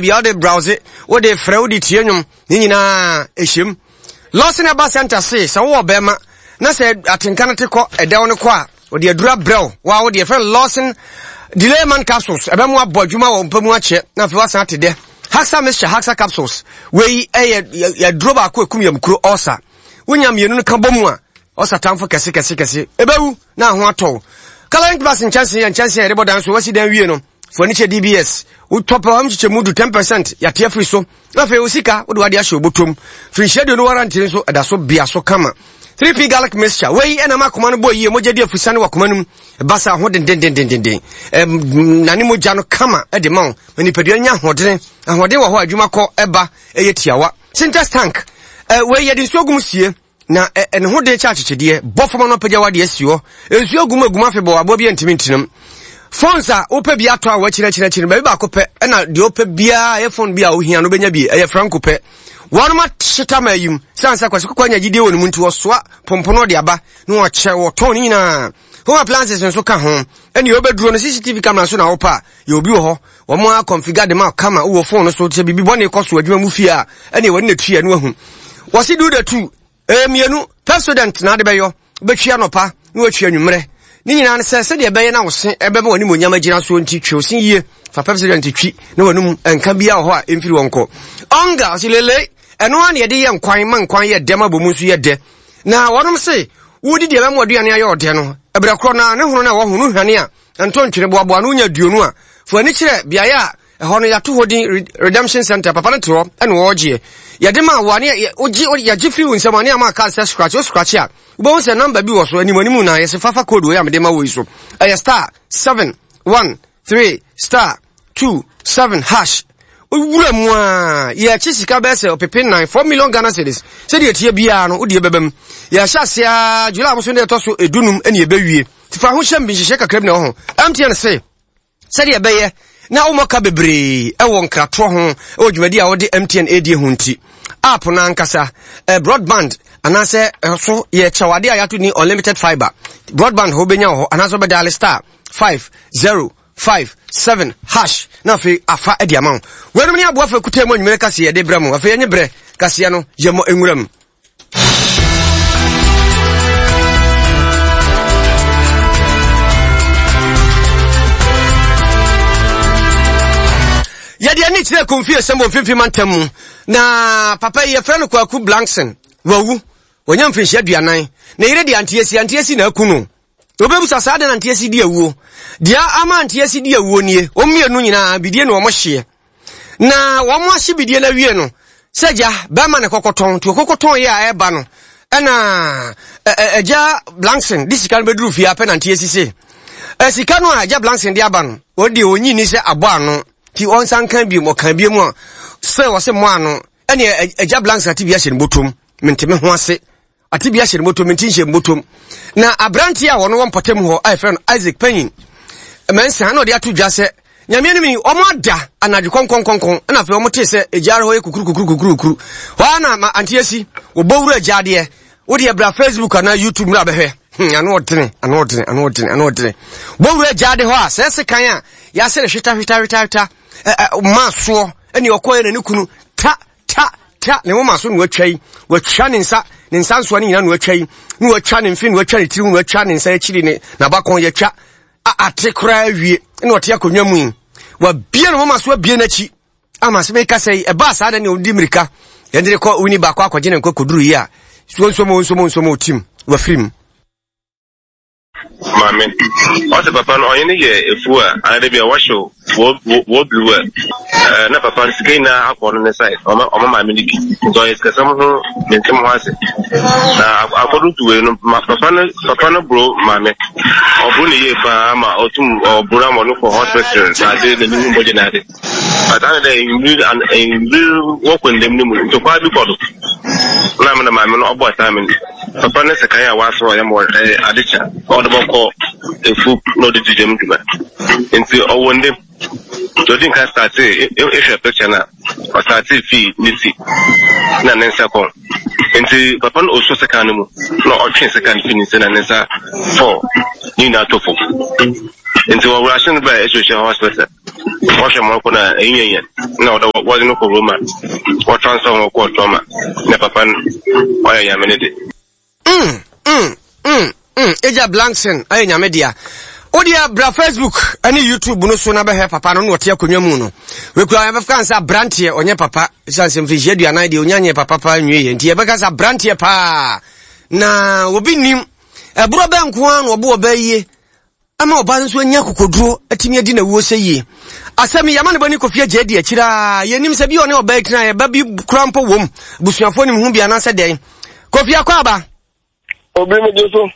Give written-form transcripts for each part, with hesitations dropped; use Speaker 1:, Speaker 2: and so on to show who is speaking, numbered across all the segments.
Speaker 1: Bia wode browse, wode frɛ, wode tie nnwom, ne nyinaa ɛhyɛm. Lawson Herbal Center se sɛ wowɔ bɛrima na sɛ atenka no te kɔ ɛdɛw no kɔ a, wɔde aduru abrɛ wo. Wa wode yɛfrɛ no Lawson Delay Man Capsules. Ɛbɛmo abɔ adwuma wɔ mpa mu akyɛ na afei wasan ate dɛ. Haxa Mixture, Haxa Capsules. Wei ɛyɛ yɛduro baako ɛkum yamkuro ulcer. Wonya mmienu no ka bɔ mu a, ulcer tamfo kɛse kɛse kɛse. Ɛbɛwu na ho atɔ wo. Coloring plus nkyɛnse yɛ nkyɛnse a yɛde bɔ dan so wasi dan wie no. Furniture DBS, wotɔ pɛ wɔn kyekyɛ mu du 10% yɛate afiri so. Na afei wo sika wode wade ahyɛ obotom. Firinhyia aduonu warranty nso ɛda so bea so kama. 3P garlic mixture, wei ɛna ma akoma no bɔ yie, mogya di afusane wɔ akoma no mu. Ɛba saa ho dendendendenden. Na ne mogya no kama ɛde ma wo. Ma nipadua nya ahoɔdene. Ahoɔden wɔ hɔ a adwuma kɔ ɛba ɛyɛ tiawa. Sintex tank, wei yɛde nsuo gu mu sie. Na ɛ ne ho den kyɛ akyekyedeɛ. Bɔ fam ano apagya w'adeɛ asi hɔ. Nsuo agu mu agu mu afebɔɔ, aboa bi antumi ntenam. Phones a wopɛ bi atɔ a wɔakyini akyini akyini no, baabi baako pɛ ɛna deɛ wopɛ biara ɛyɛ phone bi a wohia no wobɛnya bi, ɛyɛ franco pɛ. Wɔnom ahyeta ma ayim, sane sɛ Kwasi Kɔkɔɔ anya gyidie wɔ ne mu nti wɔsoa pompono de aba na wɔkyɛ wɔtɔn ne nyinaa. Home appliances nso ka ho. Ɛne wobɛduro no CCTV camera nso na wopɛ a, yɛ obi wɔ hɔ. Wɔn a configure de ma kama wowɔ phone no so sɛ biribi bɔne kɔ so adwuma mu fie a, ɛne wɔne na tua no ahu. Wɔse do the two, ɛyɛ mmienu, Pepsodent na ade bɛyɔ, wobɛtwi anɔpa na watwi anwummerɛ. Ne nyinaa ne sɛ sɛdeɛ ɛbɛyɛ na wo se ɛbɛma w'animuonyam agyina soɔ nti twe wo se yie, fa Pepsodent twi na w'anum nka biara wɔ hɔ a ɛmfiri hɔ nkɔ. Ɔnga, ɔse lele, ɛno ara na yɛde yɛ nkwan ma nkwan yɛ dɛ ma bɔ mu nso yɛ dɛ. Na wɔnom se wodi deɛ ɛbɛma w'aduane ayɛ ɔdɛ no, ɛberɛ korɔ no ara ne hono no a wɔho no hwane a ɛntɔ ntwene boaboa ano wonya aduonu a, fa w'ani kyerɛ beaeɛ a ɛhɔ no yɛato hɔ din Redemption Center, papa no te hɔ ɛna wɔregyeɛ. Yɛde ma wo a ne wogye yɛgye firi wo nsam a ne ama card sɛ scratch, wo scratch a wobɛhu sɛ number bi wɔ so anim anim na yɛse fafa code wei a mede ma wo yi so. Ɛyɛ star 7 1 3 star 2 7 hash. Wura mu a yɛkye sika bɛyɛ sɛ ɔpepe nan 4 million Ghana cedis. Sɛdeɛ ɛteɛ biara no wodeɛ bɛba mu. Yɛahyɛ aseɛ a July boso ne ɛtɔ so edunum ɛne ɛbɛwie. Fa ho hyɛm bi nhyehyɛ kakra bi na ɛwɔ ho. MTN se sɛdeɛ ɛbɛyɛ na wommɔ ka bebree wɔ nkratoɔ ho wɔ dwumadi a wode MTN ɛredie ho nti. App no ankasa, eh, broadband anaasɛ eh, so yɛ kyɛwade a yɛato ni unlimited fiber. Broadband hɔ wobɛnya wɔ hɔ anaasɛ wobɛdial star 5 0 5 7 hash na afei afa de ama wo. Weinom ne aboafo akuta mu anwummerɛ kaseɛ yɛde brɛ mo. Afei ɛnye berɛ kaseɛ no yɛmmɔ nwura mu. Yɛde ani kyerɛ Kumfie sɛm wɔ mfimfini mantam mu na papa yi yɛfrɛ no Kwaku Blankson wawu wɔnya mfirinhyia aduanan ne yere de Antiesi Antiesi na aku no Wobɛbisa saa dɛn na Antiesi di awuo deɛ ama Antiesi di awuo nie wɔn mmienu nyinaa bidie na wɔn hyeɛ Na wɔn ahye bidie no awie no, sɛ agya bɛrima na ɛkɔkɔtɔn, nti ɔkɔkɔtɔn yɛ a ɛreba no, ɛna agya Blankson de sika no bɛduru fie apɛ nante asise. Sika no a agya Blankson de aba no, wɔn deɛ ɔnyi ni sɛ abɔ ano, nti ɔnsan ka biom, ɔka biom a, sɛ wɔse mmɔ ano, ɛne agya Blankson ate bi ahyɛ ne bɔtɔm, mente me ho ase. Ate bi ahyɛ ne bɔtɔm, mente nhyɛ me bɔtɔm. Na aberanteɛ a wɔn wɔ mpɔtam hɔ a yɛfrɛ no Isaac Panyin Mensah na ɔde ato dwa sɛ Nyame anim ni, wɔn ada anadwo kɔnkɔnkɔnkɔn, ɛna afei wɔn tee sɛ egyaare hɔ yɛ kukuru kukuru kukuru kukuru. Hɔ ara na ma ante asi, wɔbɔ wura gya adeɛ. Wodeɛ bra Facebook anaa YouTube mmra bɛhwɛ. Hmm, ano ɔdene, ano ɔdene, ano ɔdene, ano ɔdene. Bɔ wura gya ade hɔ a, sɛ ɛsekan a, yɛasɛ no hweta hweta hweta hweta, ɛ ɛ maa soɔ, ɛne ɔkɔɛ na ne kunu ta ta ta ne moma so na watwa yi, watwa ne nsa, ne nsa nsoa ne nyinaa na watwa yi, na watwa ne mfe, na watwa ne tiri, na watwa ne nsa akyiri ne n'abakɔn yɛtwa a ate koraa awie na ɔte akonnwa mu yi. Wabie ne moma so abie n'akyi ama sɛ meka sɛ yi ɛbaa saa na ne ɔdi mmirika yɛde ne kɔ wini baako akɔgye ne nkɔ kɔduru yi a suo nsomo nsomo nsomo tim wafiri mu.
Speaker 2: Maame, ɔse papa no ɔnye no yɛ efuw a anaa bi a wɔhyew wɔ blue a eh, na papa no sika nyinaa akɔ ɔno ne side ɔma ɔma maame no bi nti ɔyɛ sikasɛm ho mente mo ho ase na akɔdo to wei no ma papa no papa no bro maame ɔbro ne yie paa ma ɔtum ɔbro ama ɔno kɔ hospital na ade n'anim mogya na ade But ana dɛ mbir mbir wɔkɔ ndam no mu no, ntɔkwa bi kɔ do. Na me na maame no ɔbɔ taa me papa ne sekan a ɔasɔ ɔyɛ ma ɔyɛ ade kye a ɔde bɔkɔ efuw na ɔde dzi dɛm dwuma. Ntsi ɔwɔ ndam. Ntsi ɔdzi nkan startee ehwɛ picture no a, ɔstartee fii ne tsir na ne nsa kɔn. Ntsi papa no osuo sekan no mu na ɔtwee sekan no fii ne nsa na ne nsa fɔɔ ne nyinaa tɔ famu. Ntsi wɔwurahyɛ no baa Asuohyɛ hospital. Wɔhwɛ ma ɔkɔ na ɛnyɛ yɛn na ɔdɔ wɔde no kɔ Roma wɔtransfer wɔn kɔɔ trauma na papa no ɔyɛ nyame ne de.
Speaker 1: Mm, mm, mm, mm. Agya Blankson ayɛ nyame dea. Wodeɛ bra Facebook ne YouTube no so na bɛhwɛ papa no na ɔte akonnwa mu no. Wekura yɛbɛka sɛ aberanteɛ ɔnyɛ papa. Ɛsiane sɛ mfirihyia aduanan deɛ ɔnya nyɛ papa paa nwie yɛ. Nti yɛbɛka sɛ aberanteɛ paa. Na obi nim ɛborɔ bɛ nko ara na ɔbo ɔbɛ yie. Ama ɔbaa no nso anya akokoduro atumi adi n'awuo sɛ yie. Asɛm yi, ama ne ba ne Kofi agya adi akyire a yɛnim sɛ bi ɔne ɔbaa yi tena ɛba bi kura mpo wom. Abusuafoɔ nim ho bi anaasɛ dɛn. Kofi akɔ aba.
Speaker 3: Obi mu gye so.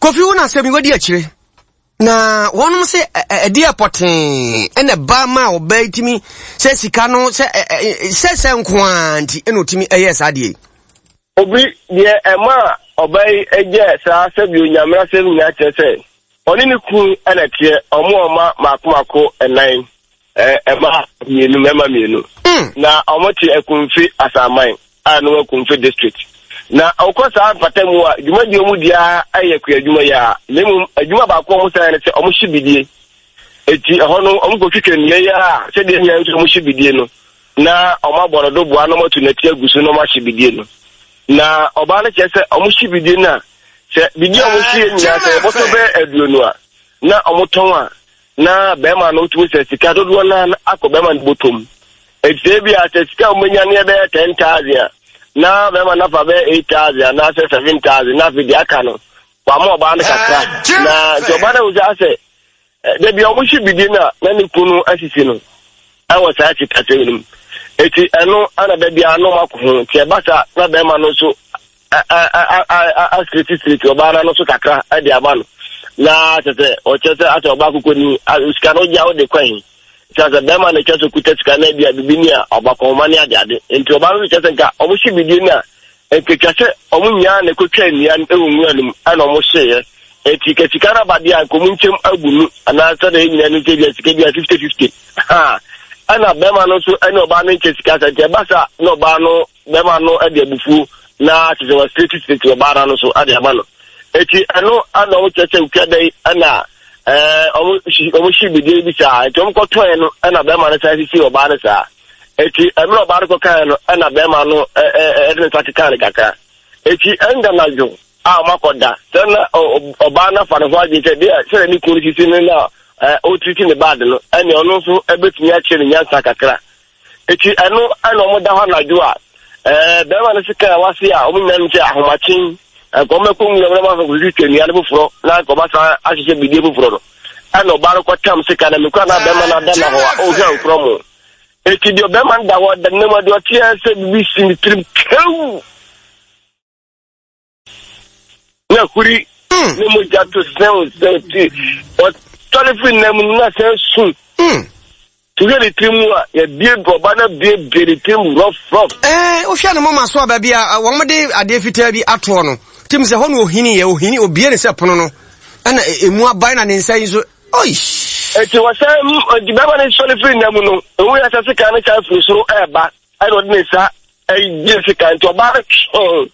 Speaker 1: Kofi wo na asɛm yi wadi akyire. Na wɔnom sɛ ɛde ɛpɔtee ɛna ɛba ma ɔbaa yi tumi sɛ sika no sɛ sɛ sɛ nko ara nti ɛna ɔtumi ɛyɛ saa deɛ yi.
Speaker 3: Obi, deɛ ɛmaa ɔbaa yi gyɛɛ saa sɛdeɛ Onyame asɛm nyinaa kyerɛ sɛ, ɔne ne kunu na ɛteɛ, ɔmo wɔ mma mako mako nnan, mmaa mmienu, mmarima mmienu. Na ɔmo te Akumfi Asaman a ɛno wɔ Akumfi District. Na ɔkɔ saa mpata mu a, dwumadie ɔmo di ara yɛ kuadwuma yi ara, na mmom adwuma baako a ɔmo san yɛ ne sɛ ɔmo hye bidie. Eti ɛhɔ no, ɔmo kɔtwitwa nnua yi ara a, sɛdeɛ nyinaa nso ɔmo hye bidie no. na wɔabɔ no doboa na wɔatu nɛte agu so na wɔahye bidie no. Na ɔbaa no kyerɛ sɛ wɔhye bidie no a, sɛ bidie a wɔhyeɛ nyinaa sɛ yɛbɔtɔ bɛyɛ aduonu a, na wɔtɔn a, na bɛrima no wotumi sɛ sika dodoɔ no akɔ bɛrima no bɔtɔ mu. Eti sɛ ebi a sɛ sika a wɔbɛnya no yɛbɛyɛ 10,000 a, na bɛrima no afa bɛyɛ 8,000 anaasɛ 7,000 na afei deɛ aka no wama ɔbaa no kakra. Na nti ɔbaa no ahu sɛ asɛ Da bi a wɔhye bidie no a na ne kunu asisi no wɔ saa sikasɛm no mu. Eti ɛno ana da biara na wɔakɔ ho. Nti ɛba saa na bɛrima no nso asireti ɔbaa no ano so kakra de ama no. Na kyɛ sɛ ɔkyerɛ sɛ asɛ ɔbaa kokoni sika no gya wode kwan. Kyɛ sɛ bɛrima no kyɛ sɛ okuta sika no bi a bibi ni a ɔba kɔnma ne ade ade. Nti ɔbaa no nso kyerɛ sɛ nka wɔhye bidie no a Ɛtwa sɛ wɔn nyinaa na ɛkɔtwaa nnua no wɔ nwura no mu ɛna wɔn hyeeɛ. Enti ka sika no aba deɛ a nka wɔn nkyɛm agu mu anaa sɛdeɛ yɛn nyinaa nim sɛ ebia sika bi a 50-50. Ha! Ɛna bɛrima no nso ɛne ɔbaa no nkyɛ sika sa nti ɛba sa na ɔbaa no bɛrima no de abufuo na kyerɛ sɛ wasireti ɔbaa no ano so de ama no. Eti ɛno ɛna wɔn kyerɛ sɛ otwa dɛn ɛna ɛɛ wɔn wɔn hye bidie bi saa nti wɔn kɔtɔɛ no ɛna bɛrima no san sisi ɔbaa no saa. Eti mmerɛ ɔbaa no kɔkaeɛ no, ɛna bɛrima no ɛde ne nsa kekaa no kakra. Eti ɛnda anadwo a wɔakɔda, sɛ na ɔbaa no afa ne ho adwene sɛ deɛ sɛdeɛ ne kunu no sisi no na ɔretiriti ne baade no, ɛne ɔno nso ɛbɛtumi akyerɛ ne nyansa kakra. Eti ɛno ɛna wɔda hɔ anadwo a bɛrima no sika a wase a wɔn nyinaa nim sɛ ahomakye nka wɔbɛkɔ nwura mu na wɔakɔ kɔtwitwa nnua no foforɔ na nka wɔasan ahyehyɛ bidie foforɔ no, ɛna ɔbaa no kɔtam sika na mekura na bɛrima no ada na hɔ a ɔhwɛ nkorɔ mu. Eti deɛ ɔbɛrima no da hɔ da ne mu deɛ ɔteɛ sɛ biribi si ne tirim kew na huri ne mogya to sɛn sɛn ti ɔtɔre firi nam na sɛn su wohwɛ ne tirim mu a yɛbie ɔba no biebie ne tirim rɔf rɔf.
Speaker 1: Ɛɛ wohwɛ ne moma so a baabi a wɔn de adeɛ fitaa bi atoɔ no tim sɛ hɔ na ohini yɛ ohini obie ne sɛ pono no ɛna emu aban na ne nsa yi nso Oish!
Speaker 3: Enti wɔsan enti bɛrima no sɔre firi nna mu no, ohun yɛ sɛ sekan no san firi soro ɛreba, ɛna ɔde ne nsa gye sekan nti ɔbaa no twee.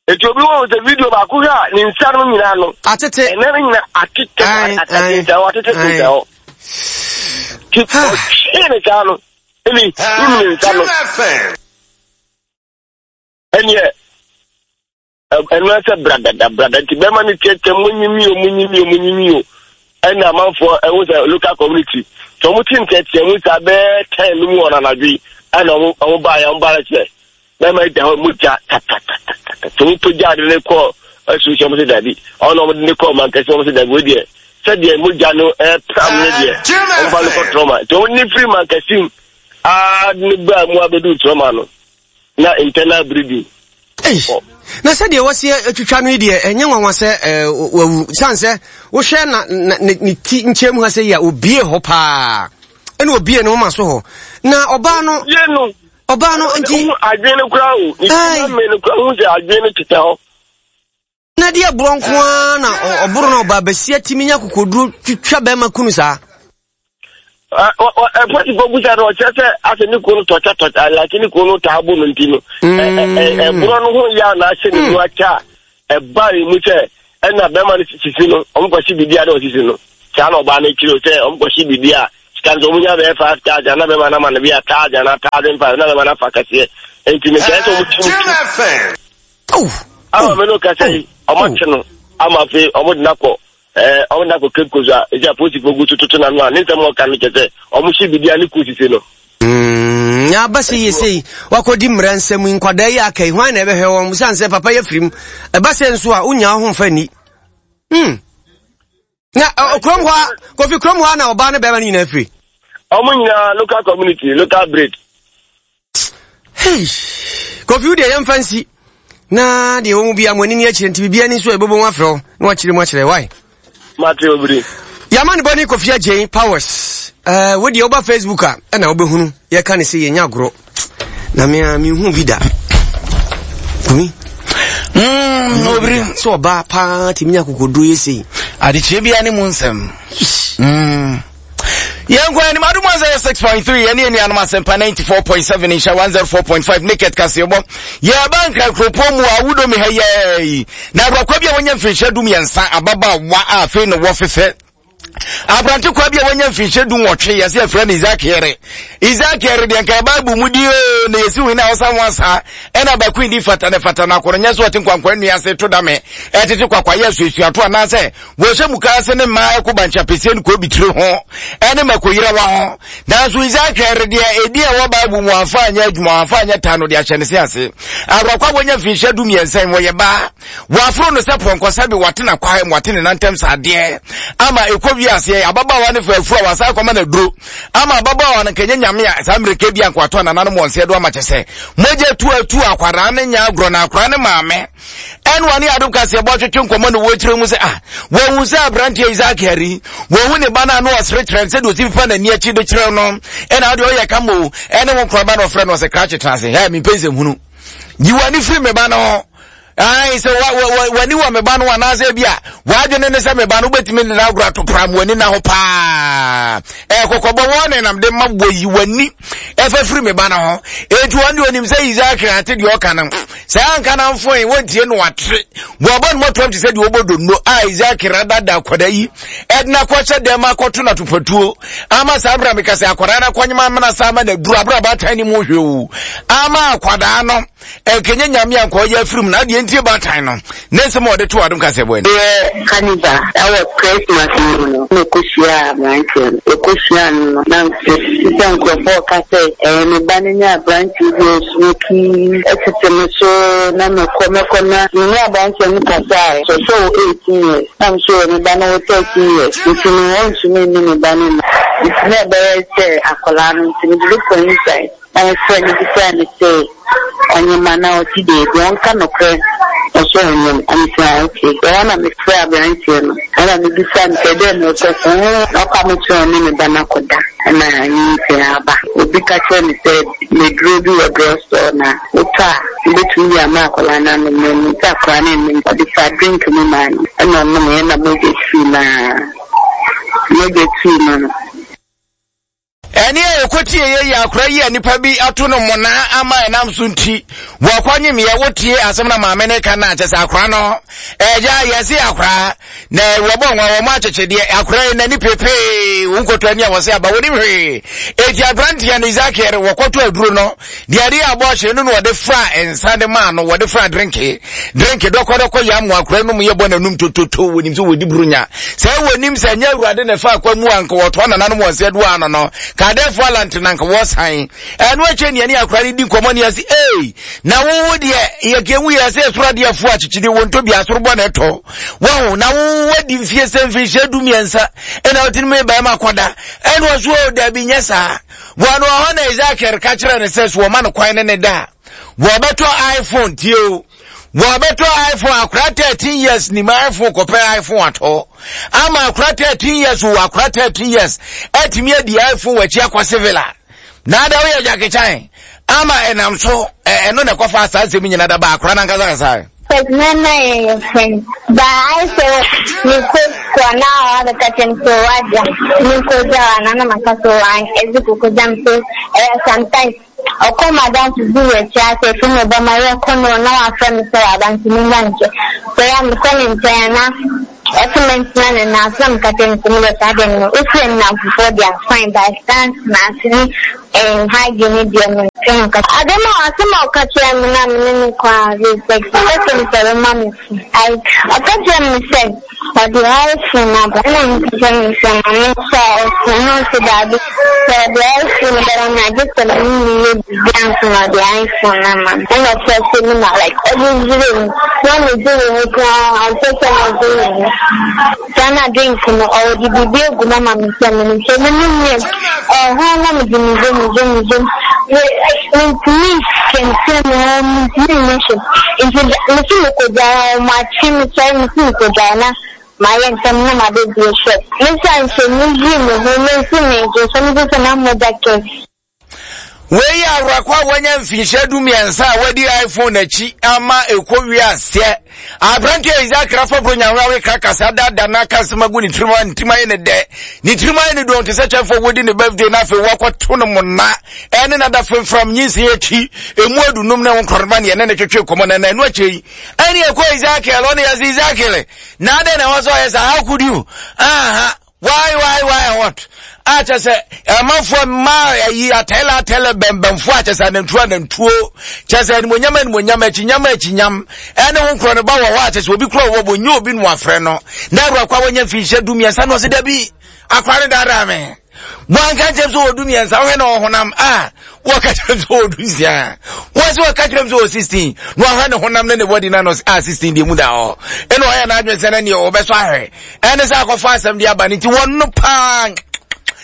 Speaker 3: Enti obi wɔ sɛ video baako hwɛ a ne nsa no nyinaa no
Speaker 1: atete,
Speaker 3: ɛnɛ no nyinaa atete atete nsa hɔ atete nsa hɔ. Ti ɔtwee ne saa no, ɛni him ne nsa no. Ɛneɛ Ɛno ara sɛ bradada brada nti bɛrima no teatea munyi mi o munyi mi o munyi mi o ɛna amanfoɔ ɛho sɛ local community sɛ wɔn ti nteatea mu saa bɛɛ 10 no mu wɔn anadwo yi ɛna wɔn wɔn baa yɛ wɔn baa sɛ bɛrima yi da hɔ mogya tatatatata sɛ wɔn pagya ade ne kɔ ɛso sɛ wɔn sɛ dabi ɔna wɔn de ne kɔ mankɛse wɔn sɛ dabi wei deɛ sɛdeɛ mogya no ɛpram ne deɛ wɔn ba no kɔ trɔma nti wɔn ne firi mankɛse mu aa ne baa mu abɛdu trɔma no. na internal bleeding.
Speaker 1: Ei, na sɛdeɛ wɔsi atwitwa no yi deɛ ɛnyɛ nwanwa sɛ ɛɛ wawu san sɛ wohwɛ na na ne ne ti nkyɛn mu ha sɛ yi a obie hɔ paa ɛna obie ne moma so hɔ na ɔbaa no
Speaker 3: obie no
Speaker 1: ɔbaa no nti
Speaker 3: adwene no koraa o ne ti na mmɛ no koraa ho sɛ adwene no tetɛ hɔ.
Speaker 1: Na deɛ borɔ nko ara na ɔboro na ɔbaa basia tumi nya kokoduro twitwa bɛrima kunu saa.
Speaker 3: Polisifoɔ busa no ɔkyerɛ sɛ asɛ ne kunu no tɔkya tɔkya like ne kunu no taa bo no nti no ɛborɔ no ho yɛ a na ahyɛ ne mu akyɛ a ɛba ne mu sɛ ɛna bɛrima no sisi no ɔmo kɔhye biribi a na ɔsisi no saa na ɔbaa no kyerɛ sɛ ɔmo kɔhye biribi a sika no sɛ ɔmo nya bɛyɛ 5,000 na bɛma no ama no bi a 1,000 na 1,500 na bɛma no afa kɛseɛ. Nti mekae sɛ ɔmo tumi tu. Ama me no kasa yi, ɔmo akye no ama afei ɔmo de no akɔ ɛɛ ɔmo de no akɔ Cape Coast a esi apolisifoɔ gu so toto n'ano a ne nsɛm a ɔka no kyɛ sɛ ɔmo hye biribi a ne kuo sisi no.
Speaker 1: Mm, aba sɛ yie sei wakɔdi mmara nsɛm yi nkwadaa yi aka yi hwan na ɛbɛhwɛ wɔn sane sɛ papa yɛ firim ɛba sɛ nso a wonya wo ho mfa nni mm. Na kurom hɔ a, Kofi kurom hɔ a na ɔbaa ne bɛrima no nyinaa firi.
Speaker 3: Wɔn nyinaa local community, local breed.
Speaker 1: Hey, Kofi wo deɛ yɛmfa nsi na deɛ wɔn mu bi a mo ani ni akyire nti biribi ani nso a ɛbɛbɔ mu afrɛ wo na wakyerɛ mu akyerɛ why.
Speaker 3: Mate obiri.
Speaker 1: Yɛama ne bɔne Kofi Agyei Powers. Uh, wo deɛ woba Facebook a ɛna wobɛhunu yɛka ne sɛ yɛnya agorɔ. Na me a menhu bi da. Kumi. Obiri. Sɛ ɔbaa paa tumi nya akokoduro yɛ sei.
Speaker 4: Adekyerɛ biara ne mu nsɛm. Yɛnkɔ anim adom 106.3 yɛne anuanom asɛmpa 94.7 nhyɛ 104.5 naked kaseɛbɔ yɛba nkra kuropɔn mu a wodɔ mi ha yɛi na awurakwa bi a wɔnya mfirinhyia 13 ababaawa a afei na wɔ fefɛ aberante kwa bi a wanya mfinhyia 18 yɛsɛ yɛfrɛ no Isaac Yere Isaac Yere deɛ nka Bible mu di oo na yɛsi wei na ɔsa ho asa ɛna baako di fata ne fata na akɔrɔ nyɛ so ɔte nkwankwa nnua ase to dame ɛtete kwakwa yɛ asuasuato anaasɛ wɔhyɛ muka ase ne mmaa ɛko bankye apɛsie ne kɔbi tiri ho ɛne makoyerawa ho nanso Isaac Yere deɛ ɛdi ɛwɔ Bible mu amfa anyɛ adwuma amfa anyɛ taa no de ahyɛ ne se ase awurakwa wɔnya mfinhyia 13 wɔyɛ baa Wɔaforo no sɛ pɔnkɔ sɛbe wate n'akwae mu, wate ne nantam sɛ adeɛ ama ɛkɔ wie aseɛ. Ababaawa no fa afuru a wasan akɔma no aduro ama ababaawa no nkɛnyɛ nyame a saa mmerɛka bi anka watɔ nananom wɔn nsa do ama kyɛ sɛ mogya tu atu akwadaa no nya agorɔ na akwadaa no maame ɛne wɔne adom kaseɛ bɔ twetwe nkɔmmɔ ne wɔkyerɛ mu sɛ ah wɔhu sɛ aberanteɛ Isaac Hari wɔhu ne ba no a na ɔsere kyerɛ no sɛdeɛ ɔsi fa n'ani akyi de kyerɛ no ɛna adeɛ ɔyɛ kama o ɛne wo nkoraba na ɔfrɛ no ɔsɛ krakye tena ase hɛ mempɛ nsɛmhunu yi w'ani firi me ba no ho Ae, sɛ w'ani wɔ me ba no anaasɛ bi a w'adwene ne sɛ me ba no wobɛtumi ne no agorɔ ato pram w'ani na ho paa. Ɛkɔkɔbɔ wɔn ne nam de ma wɔyi w'ani ɛfa firi me ba no ho. Enti wɔn deɛ onim sɛ Isaac ate deɛ ɔka no. Sɛ anka na mfoe wɔntie no atre. Wɔbɔ no mɔtoam te sɛ deɛ wɔbɔ donno a Isaac radada akwadaa yi ɛde akɔhyɛ dɛm akɔto no atopatuo ama saa berɛ a meka sɛ akwadaa no akɔnyema amena saa ama no aduru aberɛ a baatan ne mu hwɛ o ama akwadaa no Ɛnkɛnyɛ Nyame a nka ɔyɛ afiri mu na adeɛ ntie baatan no ne nsɛm a ɔde too adom kaseɛbɔ anim.
Speaker 5: Yɛ carnival wɔ Christmas no mu no na ɔkɔhyiaa aberanteɛ no. Ɔkɔhyiaa no no, na mete sɛ nkurɔfoɔ reka sɛ, ɛɛ me ba no ne aberanteɛ bi a ɔsmoki tete me so na mɛkɔ mɛkɔ na me ne aberanteɛ no kasaeɛ. Sɛ ɔsɛ ɔwɔ 18 years na me nso me ba no wɔ 13 years nti no ɔntumi nne me ba no nna. Nti na ɛbɛyɛ sɛ akwadaa no nti mede no kɔɔ inside. Na mefrɛɛ no bisaa no sɛ ɔnyem anaa ɔte baabi, ɔnka nokorɛ ɔsɛ ɔnyem. Na mese ah ok. Ɛhɔ na mefrɛɛ aberanteɛ no ɛna mebisaa no sɛ dɛn na ɛkɔ so, na ɔka me kyerɛ ɔne ne ba no akɔda ɛna nyinsɛn aba. Obi ka kyerɛɛ me sɛ nnuro bi wɔ drug store na wotɔ a wobɛtumi de ama akwadaa no anom na ɛnim sɛ akwadaa no nnom. Ɔde faa drink mu maa no ɛna ɔnomeɛ na mogya tuu no ara, mogya tuu no no.
Speaker 4: Ɛnne a wɔkɔtieeɛ yi akora yi a nnipa bi ato no mmonnaa ama ɛnam so nti wɔkɔnyemeɛ. Wotie asɛm na maame no ka no a, kyɛ sɛ akora no ɛgya yɛse akora na wɔbɔ nwa wɔn akyekyedeɛ akora yi n'ani pepee wo nkɔtɔ ani a wɔse aba wɔnim hwee. Eti aberanteɛ no Ezekiel wɔkɔtɔ aduro no Deɛ ɛde yɛ abɔɔhye no na wɔde fra nsa de maa no, wɔde fra drenke. Drenke dɔkɔdɔkɔ yɛ amoa akora nom yɛ bɔ n'anum tototo, wɔnim sɛ wɔdi buronya. Sɛ wɔnim sɛ ɛnyɛ awurade na ɛfa akwa mu a nka wɔtoa nananom wɔn nsa adu ano no, ka adɛɛfoɔ alante na nka wɔsan. Ɛno akyɛ nea ne akora no di nkɔmmɔ ne ase, ei, na wowo deɛ yɛkɛhu yɛ sɛ ɛsoro adeɛfoɔ akyekyede wɔn tɔ bi asoro bɔ na ɛtɔ. Wɔho, na wowo wadi mfie sɛ mfinhyia 13 ɛna wotumi bɛrima kɔda. Ɛna ɔso o, dabi nyɛ saa. Wɔ no hɔ na Ezekiel ka kyerɛ no sɛ so wɔma no kwan ne ne da a, wɔbɛtɔ iPhone tie o. Wɔbɛtɔ iPhone akora 13 years nim iPhone kɔpɛ iPhone atɔ. Ama akora 13 years o akora 13 years atumi adi iPhone wakyi akɔ civil a. Na ada woyɛ Jackie Chan ama ɛnam so ɛno na ɛkɔfa saa nsɛm nyina da ba akora no ankasa kasa.
Speaker 6: Cause na na yɛyɛ friends but ayɛ sɛ mekɔ sukuu a na wabɛka kyerɛ me sɛ wagya menkɔgya wo anaa na maka sɛ wan ɛdze kɔkɔgya me so ɛyɛ sometimes ɔkɔ m'adamfo bi wɔ akyire asɛ ɛfiri na ɔba ma yɛkɔ no na wafrɛ me sɛ waba nti menba nkyɛ so ɛyɛ a mekɔ ne nkyɛn a na. Ɔse mentena ne nan so na meka kyerɛ no sɛ meyɛ saa deɛ no wofrɛ me nnamfofoɔ deɛ a fine but stand ase ne eh, hygiene ne deɛ mente ho kasa. Adɛm a asɛm a ɔka kyerɛɛ me no a me ne no kɔ a sex no ɔka kyerɛɛ me sɛ ɔbɛma me phone. I ɔka kyerɛɛ me sɛ ɔde iPhone aba ɛna meka kyerɛɛ no sɛ ma me nsa iPhone na ɔse daabi sɛ ɔde iPhone bɛma me a gye sɛ me ne no yɛ biribi ansa na ɔde iPhone no ama me ɛna ɔkyerɛ me na like ɔde dwiri me na megye m'ani koraa ɔmpɛ sɛ megye m'ani. Saa na drink no ɔde biribi agu mu ama me sɛ menom sɛ menom wie ɛhɔ na mede me yam yam yam mentumi nkɛntɛn me ho mentumi nyɛ hwee nti mese mekɔgyae a wɔakye me sɔre mese mekɔgyae na mayɛ ntɛm na mabɛbue shop mesa nhyɛ meyii me ho mense megye so mese sɛ na mogya kɛse.
Speaker 4: Wei yɛ awerɛkɔ a wanya mfinhyia du mmiɛnsa a wadi iPhone akyi ama ɛkɔ wiaseɛ. Aberanteɛ Isaac Rafa Bronyanwe kra kasa dada na aka asɛm agu ne tirim a ne tirim ayɛ ne dɛ. Ne tirim ayɛ ne dɔn te sɛ kyɛmfo wɔdi ne birthday na afei wakɔto no mona ɛne nada femfram nyinsen akyi emu adunum ne ho nkorɔma ne ɛne ne twetwe nkɔmmɔ na na ɛno akyire yi ɛne ɛkɔ Ezekiel ɔne yɛse Ezekiel na adɛn na ɛwɔ sɛ ɔyɛ saa how could you aha Why why why and what? A kyɛ sɛ amanfoɔ mmaa ayi atɛlɛ atɛlɛ bɛnbɛnfoɔ a kyɛ sɛ anantuo anantuo kyɛ sɛ animonyam animonyam akyinyam akyinyam ɛne ho nkorɔ no ba wɔ hɔ a kyɛ sɛ obi korɔ wɔ bɔ nye obi no afrɛ no na awura kwa wɔnya mfinhyia du mmiɛnsa na ɔsɛ dabi akora no daadaa me wɔanka nkyɛm sɛ wɔ du mmiɛnsa wohwɛ na ɔhonam a wɔka kyerɛ m sɛ ɔwɔ du nsia wɔn sɛ wɔka kyerɛ m sɛ ɔwɔ 16 na wahwɛ ne honam ne ne bɔdi na no a 16 deɛ mu da hɔ ɛna ɔyɛ n'adwene sɛ na neɛ ɔbɛsɔ ahwɛ ɛne sɛ akɔfa asɛm de aba no nti wɔn no paa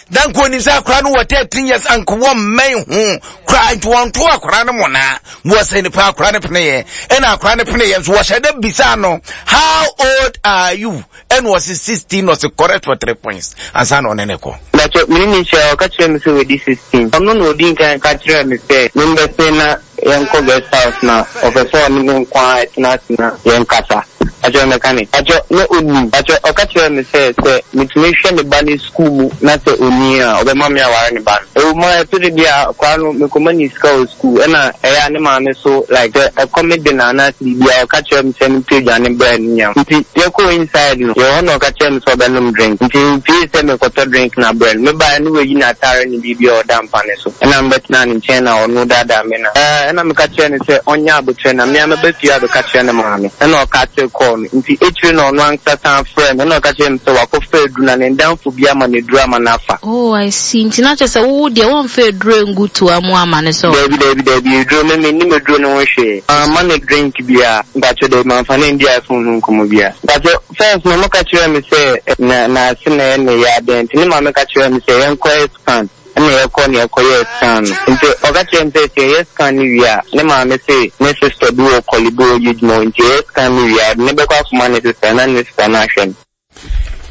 Speaker 4: na nka onim sɛ akora no wɔ 13 years anka wɔn mmɛn ho koraa nti wɔn to akora no mona wɔsɛ nipa akora no peneyɛ ɛna akora no peneyɛ nso wɔhyɛ dɛ bisa no how old are you ɛna ɔse 16 na ɔse correct for 3 points ansa na ɔne ne kɔ.
Speaker 5: Mpakyɛ me ne no hyia ɔka kyerɛɛ me sɛ wadi 16 ɔno na ɔdii nkan ka kyerɛɛ me sɛ membɛse na yɛnkɔ guest house na ɔpɛ sɛ ɔne me nko ara tena ase na yɛnkasa. Mpakyɛ mɛka ne. Mpakyɛ na ɔnim. Mpakyɛ ɔka kyerɛɛ me sɛ sɛ metumi hwɛ ne ba no sukuu mu na sɛ ɔnyin a ɔbɛma me aware ne ba no. Ɛwɔ mu ara ɛtɔ da bi a akwadaa no mekɔma no sika wɔ sukuu ɛna ɛyɛ a ne maame so like sɛ ɛkɔm de no anaasɛ biribi a ɔka kyerɛ me sɛ mentɔ aduane brɛ no nnya. Nti yɛkɔɔ inside no yɛwɔ hɔ na ɔka kyerɛɛ me sɛ ɔbɛnom drink nti mepue sɛ merekɔtɔ drink no abrɛ no. Mebaeɛ no wayi n'ataare ne biribi a ɔda mpa no so. Ɛna mebɛtenaa ne nkyɛn na ɔno daadaa me na ɛna meka kyerɛɛ no sɛ ɔnyɛ aboterɛ na me ara mɛba fie abɛka kyerɛ ne maame. Ɛna ɔkatee kɔɔ no. Nti akyire no ɔno ankasa san frɛɛ me ɛna ɔka kyerɛɛ me sɛ wakɔfa aduru na ne ndamfo bi ama no aduru ama no afa.
Speaker 7: Oh I see, nti na kyerɛ sɛ wo deɛ wɔmfa aduro ngu toa mu ama no sɛ ɔ.
Speaker 5: Daabi daabi daabi aduro me mennim aduro no ho hwee. Mamma no drink biara. Mpakyɛw daabi mamfa no andi iPhone ho nkɔmmɔ biara. Mpakyɛw first no ɔmo ka kyerɛɛ me sɛ na n'ase na ɛyɛ ne ya dɛn nti ne maame ka kyerɛɛ me sɛ yɛnkɔyɛ scan. Ɛna yɛkɔ na yɛkɔyɛɛ scan no. Nti ɔka kyerɛɛ me sɛ sɛ yɛyɛ scan no wie a, ne maame se ne sister bi wɔ Korle Bu a ɔyɛ adwuma hɔ nti yɛyɛ scan no wie a, ɔde no bɛkɔ akɔma ne sister na ne sister no ahwɛ no.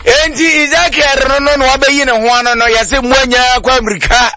Speaker 4: Enti Ezekiel no no na wabɛyi ne ho ano no yɛse mmoa nyinaa kɔ amirika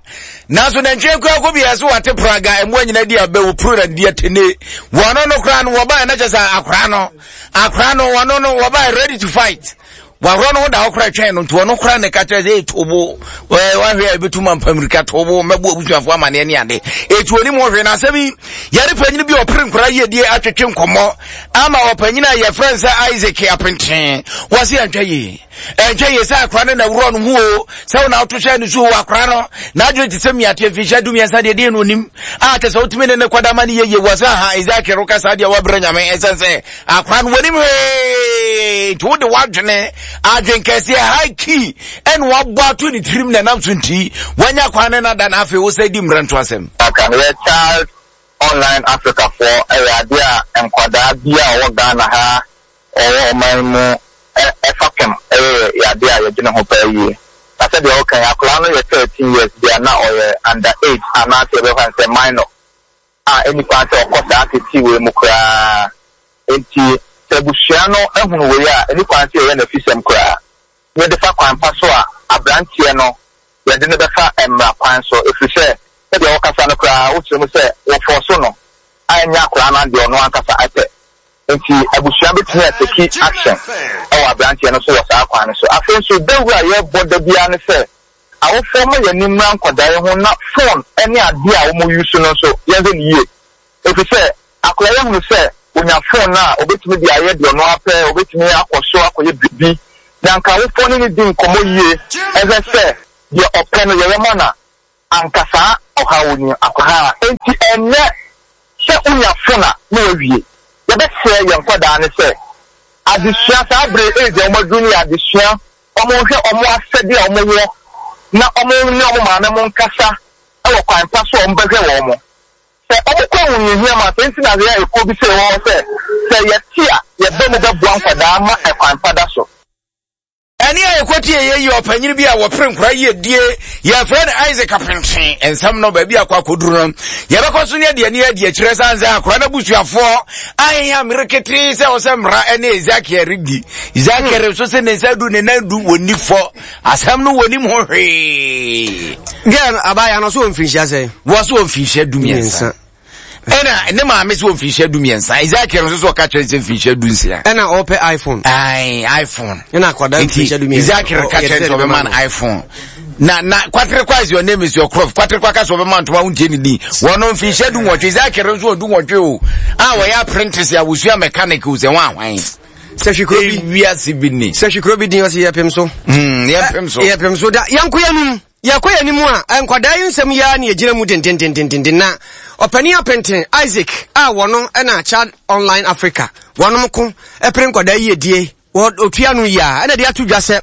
Speaker 4: nanso nantwie kɔ akɔ bi yɛse wate praga mmoa nyinaa di abɛ wɔ puro na di atene wɔno no koraa no wɔbaɛ na kyɛ sɛ akora no akora no wɔno no wɔbaɛ ready to fight Wahorɔ no ho da hɔ koraa twɛn no nti ɔno koraa ne ka kyerɛ sɛ tobo wahwɛ a ɛbɛtum ampa mmirika tobo mɛbo abusuafoɔ amaneɛ ne ade ɛti onim ho hwee na asɛm yi yɛne panyini bi ɔpere nkora yiedie atwetwe nkɔmmɔ ama ɔpanyini a yɛfrɛ no sɛ Isaac Apenten wɔse ɛntwa yie ɛntwa yie sɛ akora no na wurɔ no ho o sɛ wo na woto hyɛ no so o akora no n'adwene te sɛ mmiateɛ mfinhyia du mmiɛnsa deɛ deɛ no onim a kyɛ sɛ wotumi ne ne kɔda ma no yɛyie wɔ sɛ aha Isaac roka saa deɛ wabrɛ nyame ɛsiane sɛ Akora no wɔnim hwee nti wode w'adwene adwen kɛseɛ high key ɛna wabɔ ato ne tirim na ɛnam so nti wanya kwan ne nada na afei wosɛ di mmerɛ nto asɛm.
Speaker 8: Aka no yɛ Child Online Africa foɔ ɛyɛ adeɛ a nkwadaa bi a ɔwɔ Ghana ha ɔwɔ ɔman mu fapem ɛyɛ yɛ adeɛ a yɛdwene ho paa yie. Na sɛdeɛ woka yi akwadaa no yɛ 13 years deɛ a na ɔyɛ under age anaasɛ yɛbɛfa no sɛ minor. a enni kwan sɛ ɔkɔ saa ateetee wei mu koraa. Enti sɛ abusua no hunu wei a, enni kwan sɛ yɛyɛ no afisɛm koraa. Na yɛde fa kwan pa so a, aberanteɛ no, yɛde no bɛfa mmara kwan so, ɛfiri sɛ sɛdeɛ wokasa no koraa, wokyerɛ mu sɛ wɔfɔɔso no a ɛnyɛ akwadaa no adeɛ, ɔno ankasa pɛ. Enti abusua bɛtumi ateki action wɔ aberanteɛ no so wɔ saa kwan no so. Afei nso, dawuro a yɛbɔ da biara ne sɛ, Awofoɔ mma yɛn ani mmra nkwadaa yi ho na phone ne adeɛ a wɔn use no nso yɛnhwɛ no yie. Ɛfiri sɛ akwadaa yi ahunu sɛ. Onya phone no a, obetumi de ayɛ deɛ ɔno ara pɛ, obetumi akɔ so akɔyɛ biribi. Na anka awofoɔ ne no di nkɔmmɔ yie hwɛ sɛ deɛ ɔpɛ no yɛyɛ ma no a, anka saa ɔhaw ni akwahaa. Enti ɛnyɛ sɛ wonya phone a na wawie. Yɛbɛsrɛ yɛn nkwadaa no sɛ adesua, saa bere age a wɔaduru no yɛ adesua, wɔnhwɛ wɔn asɛdeɛ a wɔwɔ na wɔn ne wɔn maame mo nkasa wɔ kwan pa so a wɔbɛhwɛ wɔn. Sɛ wɔkɔ ahohiahia mu a, sɛ nti na yɛyɛ ekuo bi sei wɔ hɔ sɛ, sɛ yɛte a, yɛba mu bɛboa nkwadaa ma ɛkwan pa da so.
Speaker 4: Ɛnne a yɛkɔtie yɛ yi ɔpanyin bi a wɔpere nkora yiedie yɛfrɛ no Isaac Apentwe nsɛm no baabi akɔ akɔduru no yɛbɛkɔ so ne adeɛ ne adi akyerɛ sane sɛ akora no abusuafoɔ ahea mmere ketee sɛ ɔsɛ mmara ne Ezekiel redi Ezekiel nso sɛ ne nsa du ne nan du wɔnni fɔ asɛm no wɔnim ho hwee
Speaker 1: Girl abaayewa no so wɔ mfirinhyia sɛn?
Speaker 4: Wɔ so wɔ mfirinhyia 13. Ɛna ne maame so wɔ mfirinhyia 13. Ezekiel nso so ɔka kyerɛ sɛ mfirinhyia 16.
Speaker 1: Ɛna ɔpɛ iPhone.
Speaker 4: Ayi iPhone.
Speaker 1: Ɛna akwadaa mfirinhyia 13.
Speaker 4: Ezekiel ka kyerɛ sɛ ɔbɛma no iPhone. Na na kwaterekwa is your name is your crop. Kwaterekwa ka sɛ ɔbɛma ntoma wontie ne din. Wɔn no mfirinhyia 18. Ezekiel nso wɔ 18 o. A wɔyɛ apprentice a wɔsua mechanic o sɛ wɔn ahwan.
Speaker 1: Sɛhwi kuro bi.
Speaker 4: Wiase bi ni.
Speaker 1: Sɛhwi kuro bi din ɔsi yɛpem so.
Speaker 4: Yɛpem so.
Speaker 1: Yɛpem so da yɛnko yɛnum. Yɛkɔ yɛn anim a, nkwadaa yi nsɛm yi ara na yɛgyina mu dendendendenden na ɔpanin apenten Isaac a wɔno na Child Online Africa wɔnom ko pere nkwadaa yiedie ɔtua no yi a ɛna de ato dwa sɛ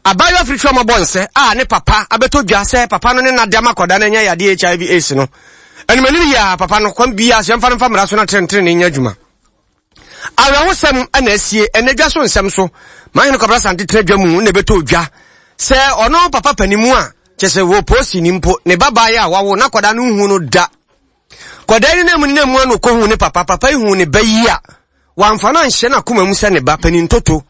Speaker 1: abaayewa firi twam abɔ nsɛ a ne papa abɛtɔ dwa sɛ papa no ne nada ma akwadaa no anya yadeɛ HIV AIDS no animanim yi a papa no kwan biara sɛ yɛmfa no mfa mmara so na tenetene nyɛ adwuma. Awerɛhosɛm na asie ɛnɛ dwa so nsɛm so. Mahene Kwabena Asante tena dwa mu na ɛbɛtɔ dwa sɛ ɔno papa panimu a kyɛ sɛ wɔ posi ni mpo ne ba baeɛ a wawo na kɔdaa no nhu no da. Kɔdaa no nam ne mu ano kɔhu ne papa, papa yi hu ne ba yi a wamfa no anhyɛ n'akoma mu sɛ ne ba panin toto.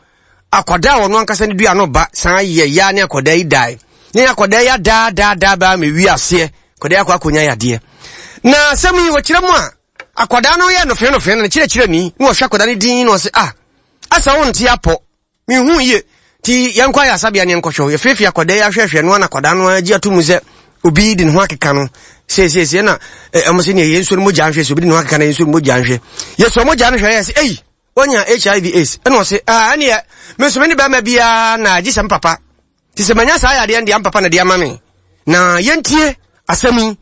Speaker 1: Akɔdaa a ɔno ankasa ne dua no ba san yɛ yaa ne akɔdaa yi dae. Ne akɔdaa yi adaadaadaa baa ma wi aseɛ kɔdaa yi akɔ akɔnya yadeɛ. Na asɛm yi wɔkyerɛ mu a Akwadaa no yɛ nofee nofee no ne kyerɛkyerɛni na ɔhwɛ akwadaa no din na ɔse ah asa wo nte apɔ mehu yie ti yɛnkɔ ayɛ asabea ne yɛnkɔhwɛ yɛfeefee akwadaa yi ahwɛhwɛ no ana akwadaa no agye ato mu sɛ obi de ne ho akeka no seesiesie na ɛmo sɛ neɛ yɛnsuo no mogya nhwɛ sɛ obi de ne ho akeka no yɛnsuo no mogya nhwɛ yɛsuo mogya no hwɛ yɛ sɛ ei wanya hiv aids ɛna ɔse ah ɛneɛ me nso me ne bɛrima biara na agye sɛ me papa Nti sɛ manya saa yadeɛ no deɛ ampapa na de ama me. Na yɛntie asɛm yi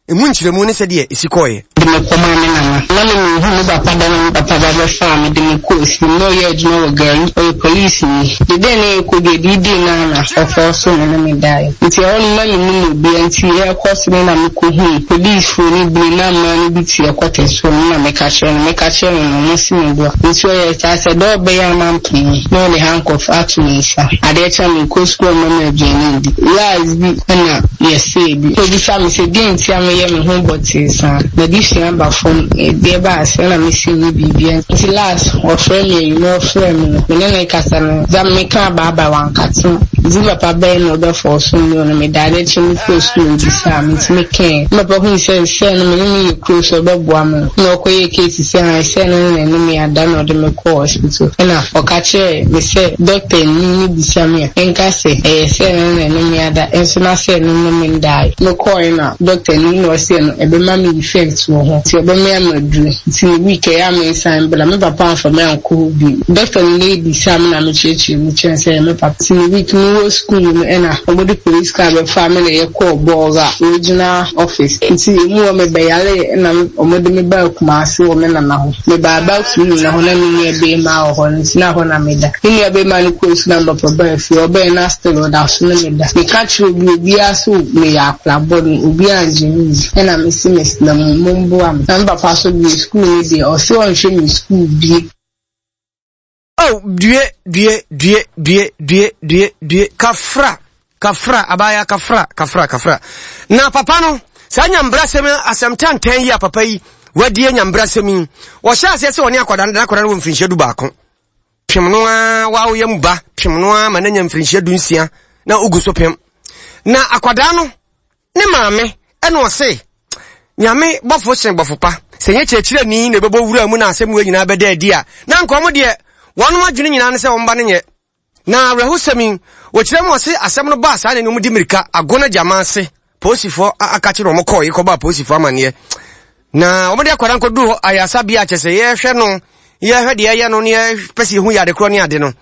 Speaker 1: emu nkyerɛmu ne sɛdeɛ ɛsi kɔeɛ.
Speaker 9: De me kɔmaa me nana. Na me menhu me papa da na me papa ba bɛfaa me de me kɔɔ fie. Na ɔyɛ adwuma wɔ Gari. Ɔyɛ polisini. De dɛn na yɛkɔ dwa dii no ara na ɔfɔɔ so me ne me daeɛ. Nti ɛhɔ no na mennim obiara nti yɛrekɔ so no na mekɔhuu polisfoɔ no bi na mmaa no bi te ɛkɔtɛ so no na meka kyerɛɛ no. Meka kyerɛɛ no no ɔmo se me boa. Nti ɔyɛɛ saa sɛ dɛ ɔbɛyɛ a mampene no na ɔde handcuff ato me nsa. Adeɛ kye a mekɔ sukuu a ɔmma me aduane ndi. Last bi na yɛsɛɛ bi. Ɔbisa me sɛ deɛn nti a meyɛ me ho bɔtee saa. M'adesua aba fam, deɛ ɛbaa aseɛ na mese nyɛ biribiara. Nti last ɔfrɛ me anwummerɛ ɔfrɛɛ me no, me ne no rekasa no, dza mekaa bye bye wankate. Ntsi me papa bɛyɛ na ɔbɛfɔɔso me no, meda adeɛ kye mekɔɔ sukuu ɔbisaa me nti mekɛɛ. Me papa hui sɛ sɛ no me ne no yɛ kuro so ɔbɛboa me no, na ɔkɔyɛɛ case sɛ ae sɛ no ne ne me ada na ɔde me kɔɔ hospital. Ɛna ɔka kyerɛɛ me sɛ doctor ni no bisa me a, menka sɛ ɛyɛ sɛ no na ɛne me ada nso na sɛ no ne me ndae. Mekɔɔe na doctor ni na ɔse ɛno ɛbɛma me effect wɔ ho nti ɔbɛma me aduro nti ne week ɛyɛ a mensan mbra. Me papa amfa me ankɔ hɔ bio. Doctor no bisaa me na mekyerɛkyerɛɛ mu kyerɛɛ no sɛ ɛyɛ me papa. Nti ne week mewɔ school no ɛna wɔde police car bɛfaa me na yɛkɔɔ Bolga regional office. Nti emu hɔ mebɛyaree ɛna wɔde me baa Kumasi wɔ me nana hɔ. Mebaa back to me nana hɔ na me nua barima wɔ hɔ nti na hɔ na meda. Me nua barima no kɔɔ sukuu na me papa baa fie. Ɔbae na still ɔda so ne me da. Meka kyerɛ obi obiara sɛ meyɛ akwadaa bɔne obiara angye me nni. Ɛna mese mesrɛ mo momboa me. Na me papa so deɛ sukuu no deɛ ɔse ɔnhwɛ me sukuu bio.
Speaker 1: Oh, due, due, due, due, due, due, due, kafra, kafra, abaya, kafra, kafra, kafra. Na papa no, saa nyambrasɛm asɛm tantan yi a papa yi wadie nyambrasɛm yi, wɔhyɛ aseɛ sɛ ɔne akwadaa no da akwadaa no wɔ mfirinhyia 11. Pem no ara, wawoyɛ mu ba, pem no ara ma no anya mfirinhyia 16 na ogu so pem. Na akwadaa no, Ne maame ɛna ɔse, Nyame bɔfo sen bɔfo pa. Sɛ nyɛ kyerɛkyerɛni na ɛbɛbɔ wura mu na asɛm wei nyinaa bɛda adi a, na anka wɔn deɛ wɔn adwene nyinaa ne sɛ wɔn ba no nyɛ. Na awerɛhosɛm yi, wɔkyerɛ mu ɔse asɛm no baa saa na wɔn di mmirika ago no gyama ase. Polisifoɔ aka kyerɛ wɔn kɔɔ yi kɔbɔ apolisifoɔ amanneɛ. Na wɔn de akwadaa nkɔduru hɔ ayasabea kyɛ sɛ yɛrehwɛ no. Yɛhwɛ deɛ ɛyɛ no ne yɛpɛ sɛ yɛhu yɛ ade korɔ ne ade no,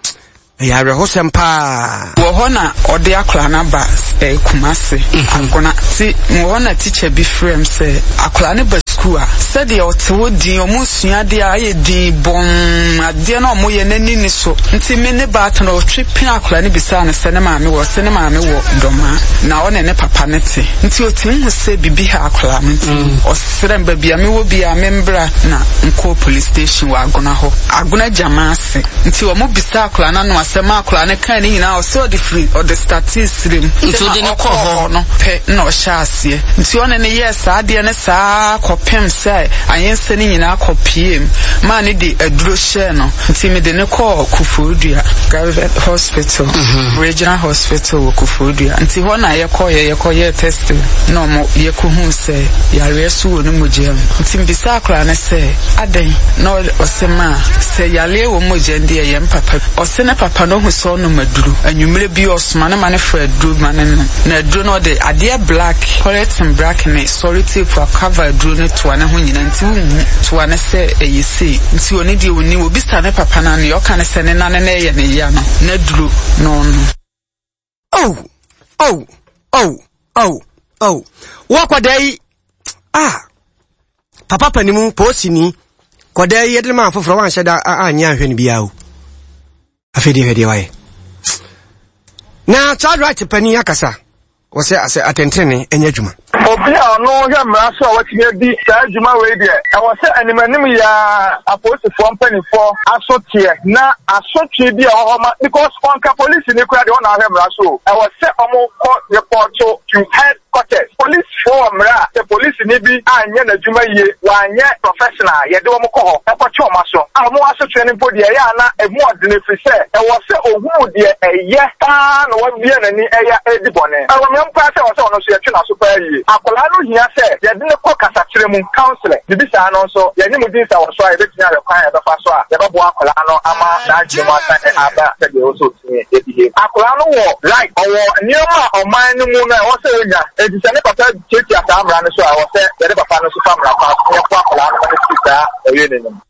Speaker 1: ɛyɛ awerɛhosɛm paa.
Speaker 10: Wɔ hɔ na ɔde akwadaa no aba eh, Kumasi, mhm. Agona. Ti wɔ hɔ na tikya bi frɛ m sɛ akwadaa no ba sukuu a, sɛdeɛ ɔte hɔ din, ɔmo sua adeɛ a ayɛ din bɔmm, adeɛ no a ɔmo yɛ n'ani ni so. Nti me ne baatan ɔtwe pin akwadaa no bisaa no sɛ ne maame wɔ, ɔse ne maame wɔ Dɔmaa, na ɔne ne papa no te. Nti ɔtumi hu sɛ bibi ha akwadaa no nti mm. Serɛ me baabi a mewɔ biaa me mbra na nkɔɔ police station wɔ Agona hɔ. Agona gyama ase. Nti ɔmo bisaa akwadaa no ano asɛm a akwadaa no kaa ne nyinaa ɔse ɔde firi ɔde startee serem.
Speaker 11: Nti ɔde no kɔɔ hɔ?
Speaker 10: no pɛ na ɔhyɛɛ aseɛ. Nti ɔne no yɛɛ saa adeɛ no saa kɔpem sɛ ayensɛ no nyinaa kɔ piem maa no de aduro hyɛɛ no. Nti mede no kɔɔ Koforidua Private hospital, Regional hospital wɔ Koforidua. Nti hɔ na yɛkɔeɛ yɛkɔyɛɛ test na ɔmo yɛkɔhuu sɛ yareɛ so wɔ ne mogya mu. Nti mebisaa akwadaa no sɛ adɛn na ɔse maa sɛ yareɛ wɔ mogya mu deɛ ɛyɛ me papa. Ɔse ne papa no ɔhu sɛ ɔnom aduro. Anwummerɛ bi ɔsoma no ma no fa aduro ma no nom. Na aduro no ɔde adeɛ black, polythene black ne sɔre tape akava aduro no toa ne ho nyinaa nti wonhu toa no sɛ ɛyɛ sei. Nti ɔno deɛ ɔnnim. Ɔbisa ne papa no a nea ɔka ne sɛ ne nane no ɛyɛ ne ya no n'aduro na ɔnom.
Speaker 1: Oh, oh, oh, oh, oh. Wo akwadaa yi, ah, papa panimu, poosini, kwadaa yi yɛde ma afoforɔ wanhyɛ da anyɛ anhwɛ no biara o. Afei deɛ hwɛ deɛ wayɛ. Na child right panin akasa. Wɔsɛ asɛ atɛntrenee nyɛ adwuma.
Speaker 8: Obi a ɔno hwɛ mmara so a watumi adi saa dwuma wei deɛ, ɛwɔ sɛ animanim yi ara apolisifoɔ mpanimfoɔ aso teɛ na asotwe bi a ɛwɔ hɔ ma because ɔnka polisini koraa deɛ ɔna ahwɛ mmara so o, ɛwɔ sɛ wɔkɔ repɔto to head quarters. Polisifoɔ wɔ mmara a sɛ polisini bi anyɛ n'adwuma yie, wanyɛ professional a, yɛde wɔn kɔ hɔ kɔtwe wɔn aso. A wɔn asotwe no mpo deɛ ɛyɛ a na ɛmu ɔdene ɛfiri sɛ ɛwɔ sɛ ɔhunu deɛ ɛyɛ paa na wabue n'ani ɛyɛ redi bɔne. Ɛwɔ me paa sɛ ɛwɔ sɛ ɔno nso yɛtwe n'aso paa yie. Akwadaa no hia sɛ yɛde no kɔ kasakyerɛ mu, counselling, biribi saa no nso yɛne mo di nsawɔsoɔ a yɛbɛtumi ahwɛ kwan a yɛbɛfa so a yɛbɛboa akwadaa no ama n'adwene mu asan aba sɛdeɛ ɛwɔ sɛ ɔtumi behave. Akwadaa no wɔ right, ɔwɔ nneɛma a ɔman no mu no ɛwɔ sɛ ɔnya, enti sɛ ne papa tiatia saa mmara no so a ɛwɔ sɛ yɛde papa no nso fa mmara kwan so na yɛboa akwadaa no ma no firi saa ɔyɛ no mu.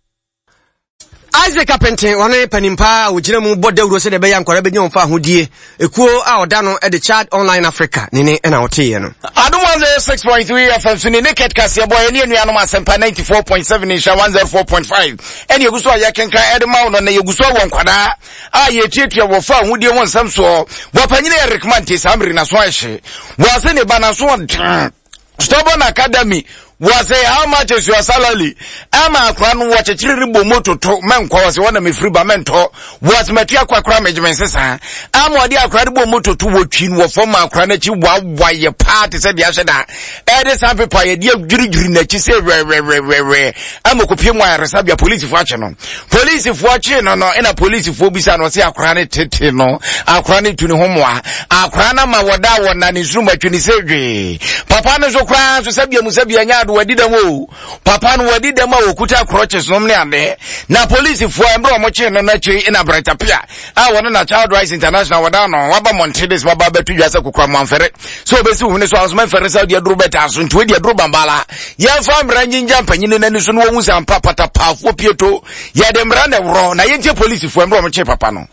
Speaker 1: Isaac Apenten, ɔne panin paa a ɔgyina mu bɔ dawuro sɛdeɛ ɛbɛyɛ nkwadaa bɛnya wɔn fa ahodie. Ekuo a ɔda no de Child Online Africa ne ne na ɔteeɛ no.
Speaker 4: Adom 106.3 FM so ne Naked kaseɛ bɔ yɛne anuanom Asɛmpa 94.7 nhyira 104.5 ɛne yɛgu so a yɛkenkan ɛde ma wo no na yɛgu so wɔ nkwadaa a yɛtuatua wɔ fa ahodie ho nsɛm soɔ. Bɔpanyini Eric Mante saa mmere naso ahye wɔ ase ne ba naso ɔden Stubborn Academy wɔsɛ how much is your salary ama akora no wɔkyekyere ne bɔ mu toto mɛnkɔ wɔsɛ wɔna mefiri ba mɛntɔ wɔsɛ matua kwa kora megye me nsesa ama ɔde akora no bɔ mu toto wɔtwi no wɔ fam ma akora no akyi wawa yɛ paa te sɛ deɛ ahyɛ da ɛde san pepa yɛde adwiridwiri n'akyi sɛ wɛwɛwɛwɛ ama kɔpie mu ayaresabea polisifoɔ akye no Polisifoɔ kyee no no ɛna polisifoɔ bisa no ɔse akora no tete no akora no tu ne ho mmoa akora no ma wɔda wɔ na ne nsurum atwi ne sɛ dwee papa no nso koraa nso sɛbia mu sɛbia nyɛ ado wadi dɛm o papa no wadi dɛm a wɔkuta crutches nom ne adeɛ na polisifoɔ mmerɛ wɔn kyee no no akyi ɛna brɛtapia a wɔne na Child Rights International wɔda no waba mmɔnten de sɛ waba abɛto dwa sɛ kokora mo amfɛre sɛ wɔbɛsi wo hwene so anso mɛmfɛre sɛ wode aduro bɛtaa so nti wode aduro bambala yɛmfa mmara ngyingya mpanyini no ani so na wɔhu sɛ ampa patapaafoɔ pieto yɛde mmara na ɛworɔ na yɛntie polisifoɔ mmerɛ wɔkyee papa no.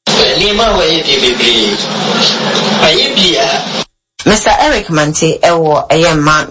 Speaker 12: Nneɛma a wɔayɛ deɛ bebree. Mayɛ bi a.
Speaker 13: Mister Eric Mante wɔ ɛyɛ mma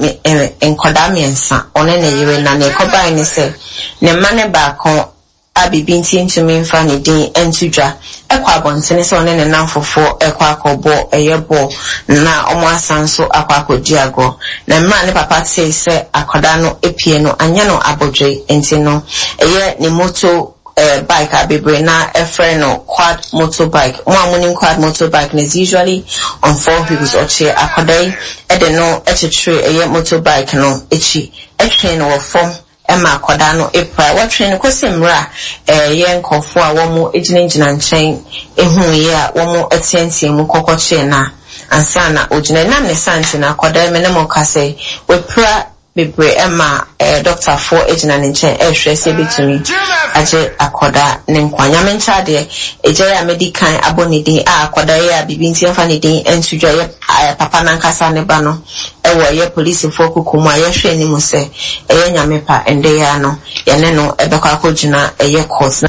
Speaker 13: nkwadaa mmiɛnsa, ɔne ne yere, na nea ɛkɔbaeɛ ne sɛ ne mma no baako a biribi nti ntumi mfa ne din nto dwa kɔ abɔntene sɛ ɔne ne nnamfofoɔ rekɔ akɔbɔ ɛyɛ bɔɔl na wɔasan nso akɔ akɔdi agorɔ. Na mmerɛ a ne papa tee sɛ akwadaa no apue no, anyɛ no abodwoe nti no ɛyɛ ne moto eh, bike a bebree no ara frɛ no quad motor bike. Mo a monim quad motor bike no is usually on four wheels. Ɔkyee akwadaa yi de no kyekyeree ɛyɛ motor bike no akyi twee no wɔ fam ma akwadaa no pirae. Wɔtwee no kɔsi mmerɛ a ɛyɛ nkorɔfoɔ a wɔgyinagyina nkyɛn huiɛ a wɔteateaa mu kɔkɔkyee no a ansa na ɔgyina. Ɛnam ne saa nti no, akwadaa yi me ne mo rekasa yi, wapira. bebree ma dɔktafoɔ gyina ne nkyɛn rehwɛ sɛ ɛbɛtumi agye akwadaa ne nkwa. Nyame nkyɛ adeɛ, agya yi a madi kan abɔ ne din a akwadaa yi a biribi nti yɛmfa ne din nto dwa yɛ papa no ankasa ne ba no wɔ ɛyɛ polisifoɔ kuku mu a yɛhwɛ anim sɛ ɛyɛ Nyame pa ɛndɛ yi ara no yɛne no bɛkɔ akɔgyina ɛyɛ court na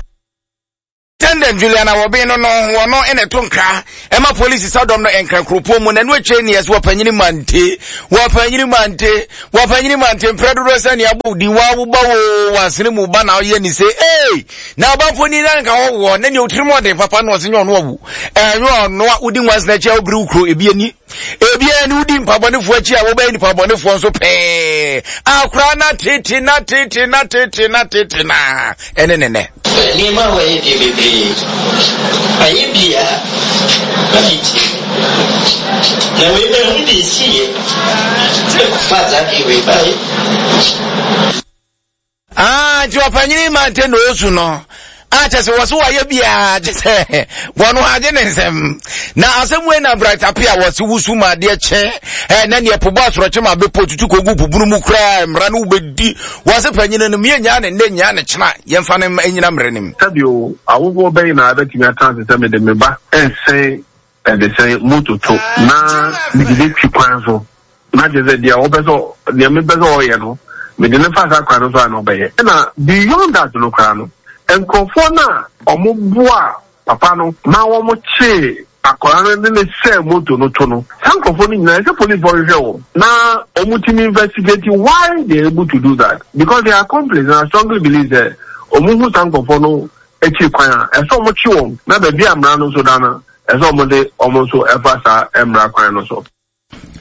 Speaker 4: Tendent Juliana Wɔben no no wɔno na ɛto nkra ɛma polisi sadɔm no nkra kuropɔn mu na ɛno akyire ne yɛsɛ wɔpanyini mante wɔpanyini mante wɔpanyini mante mprɛ dodoɔ sɛ nea abɔ din wa wo ba wo wasene mu ba na ɔyɛ ne sɛ ee na ɔba ni na nka wɔwɔ na nea otirim ɔden papa na ɔse nyɛ ɔno awu ɛnyɛ ɔno a wodi nwansena akyi a wobiri wo kuro ebi ani Ebia ne wodi mpabɔnefoɔ akyi a wobɛyɛ nipa bɔnefoɔ nso pɛɛ. Akora na tete na tete na tete na tete na ɛne ne nɛ.
Speaker 12: Nneɛma a wɔayɛ deɛ bebree. Ayɛ bi a na mentie. Na wei mahu deɛ ɛsiiɛ ɛkɔfaa saa adeɛ wei baeɛ.
Speaker 4: Ah, nti ɔpanyini mante na ɔsu no a kyɛ sɛ wɔ so wayɛ biara kyɛ sɛ wɔno agye ne nsɛm na asɛm wei na bright ape a wɔse wusu ma adeɛ kyɛ ɛ na neɛ pobɔ asorɔkye ma bɛpɔ tutu kɔgu pubunu mu koraa mmara no wobɛdi wɔ se panyini no meyɛ nyaa ne nnɛ nyaa ne kyena yɛmfa no nyina mmerɛ no mu.
Speaker 2: Sɛdeɛ awofoɔ bɛn na bɛtumi atena ase sɛ mede me ba resɛn Ɛde sɛ moto to na mede no twi kwan so na kyerɛ sɛ deɛ ɔpɛ sɛ deɛ mepɛ sɛ ɔyɛ no mede no fa saa kwan no so a na ɔbɛyɛ. Ɛna beyond that no koraa no nkurɔfoɔ no a wɔboa papa no ma wɔkyee akwadaa no de no sɛɛ moto no to no saa nkurɔfoɔ no nyinaa ɛsɛ policefoɔ hwehwɛ wɔn na wɔtumi investigate why they are able to do that because they are accomplice and I strongly believe sɛ wɔn hu saa nkurɔfoɔ no akyiri kwan a, ɛsɛ wɔkye wɔn, na baabi a mmara no nso da no, ɛsɛ wɔde wɔn nso fa saa mmara kwan no so.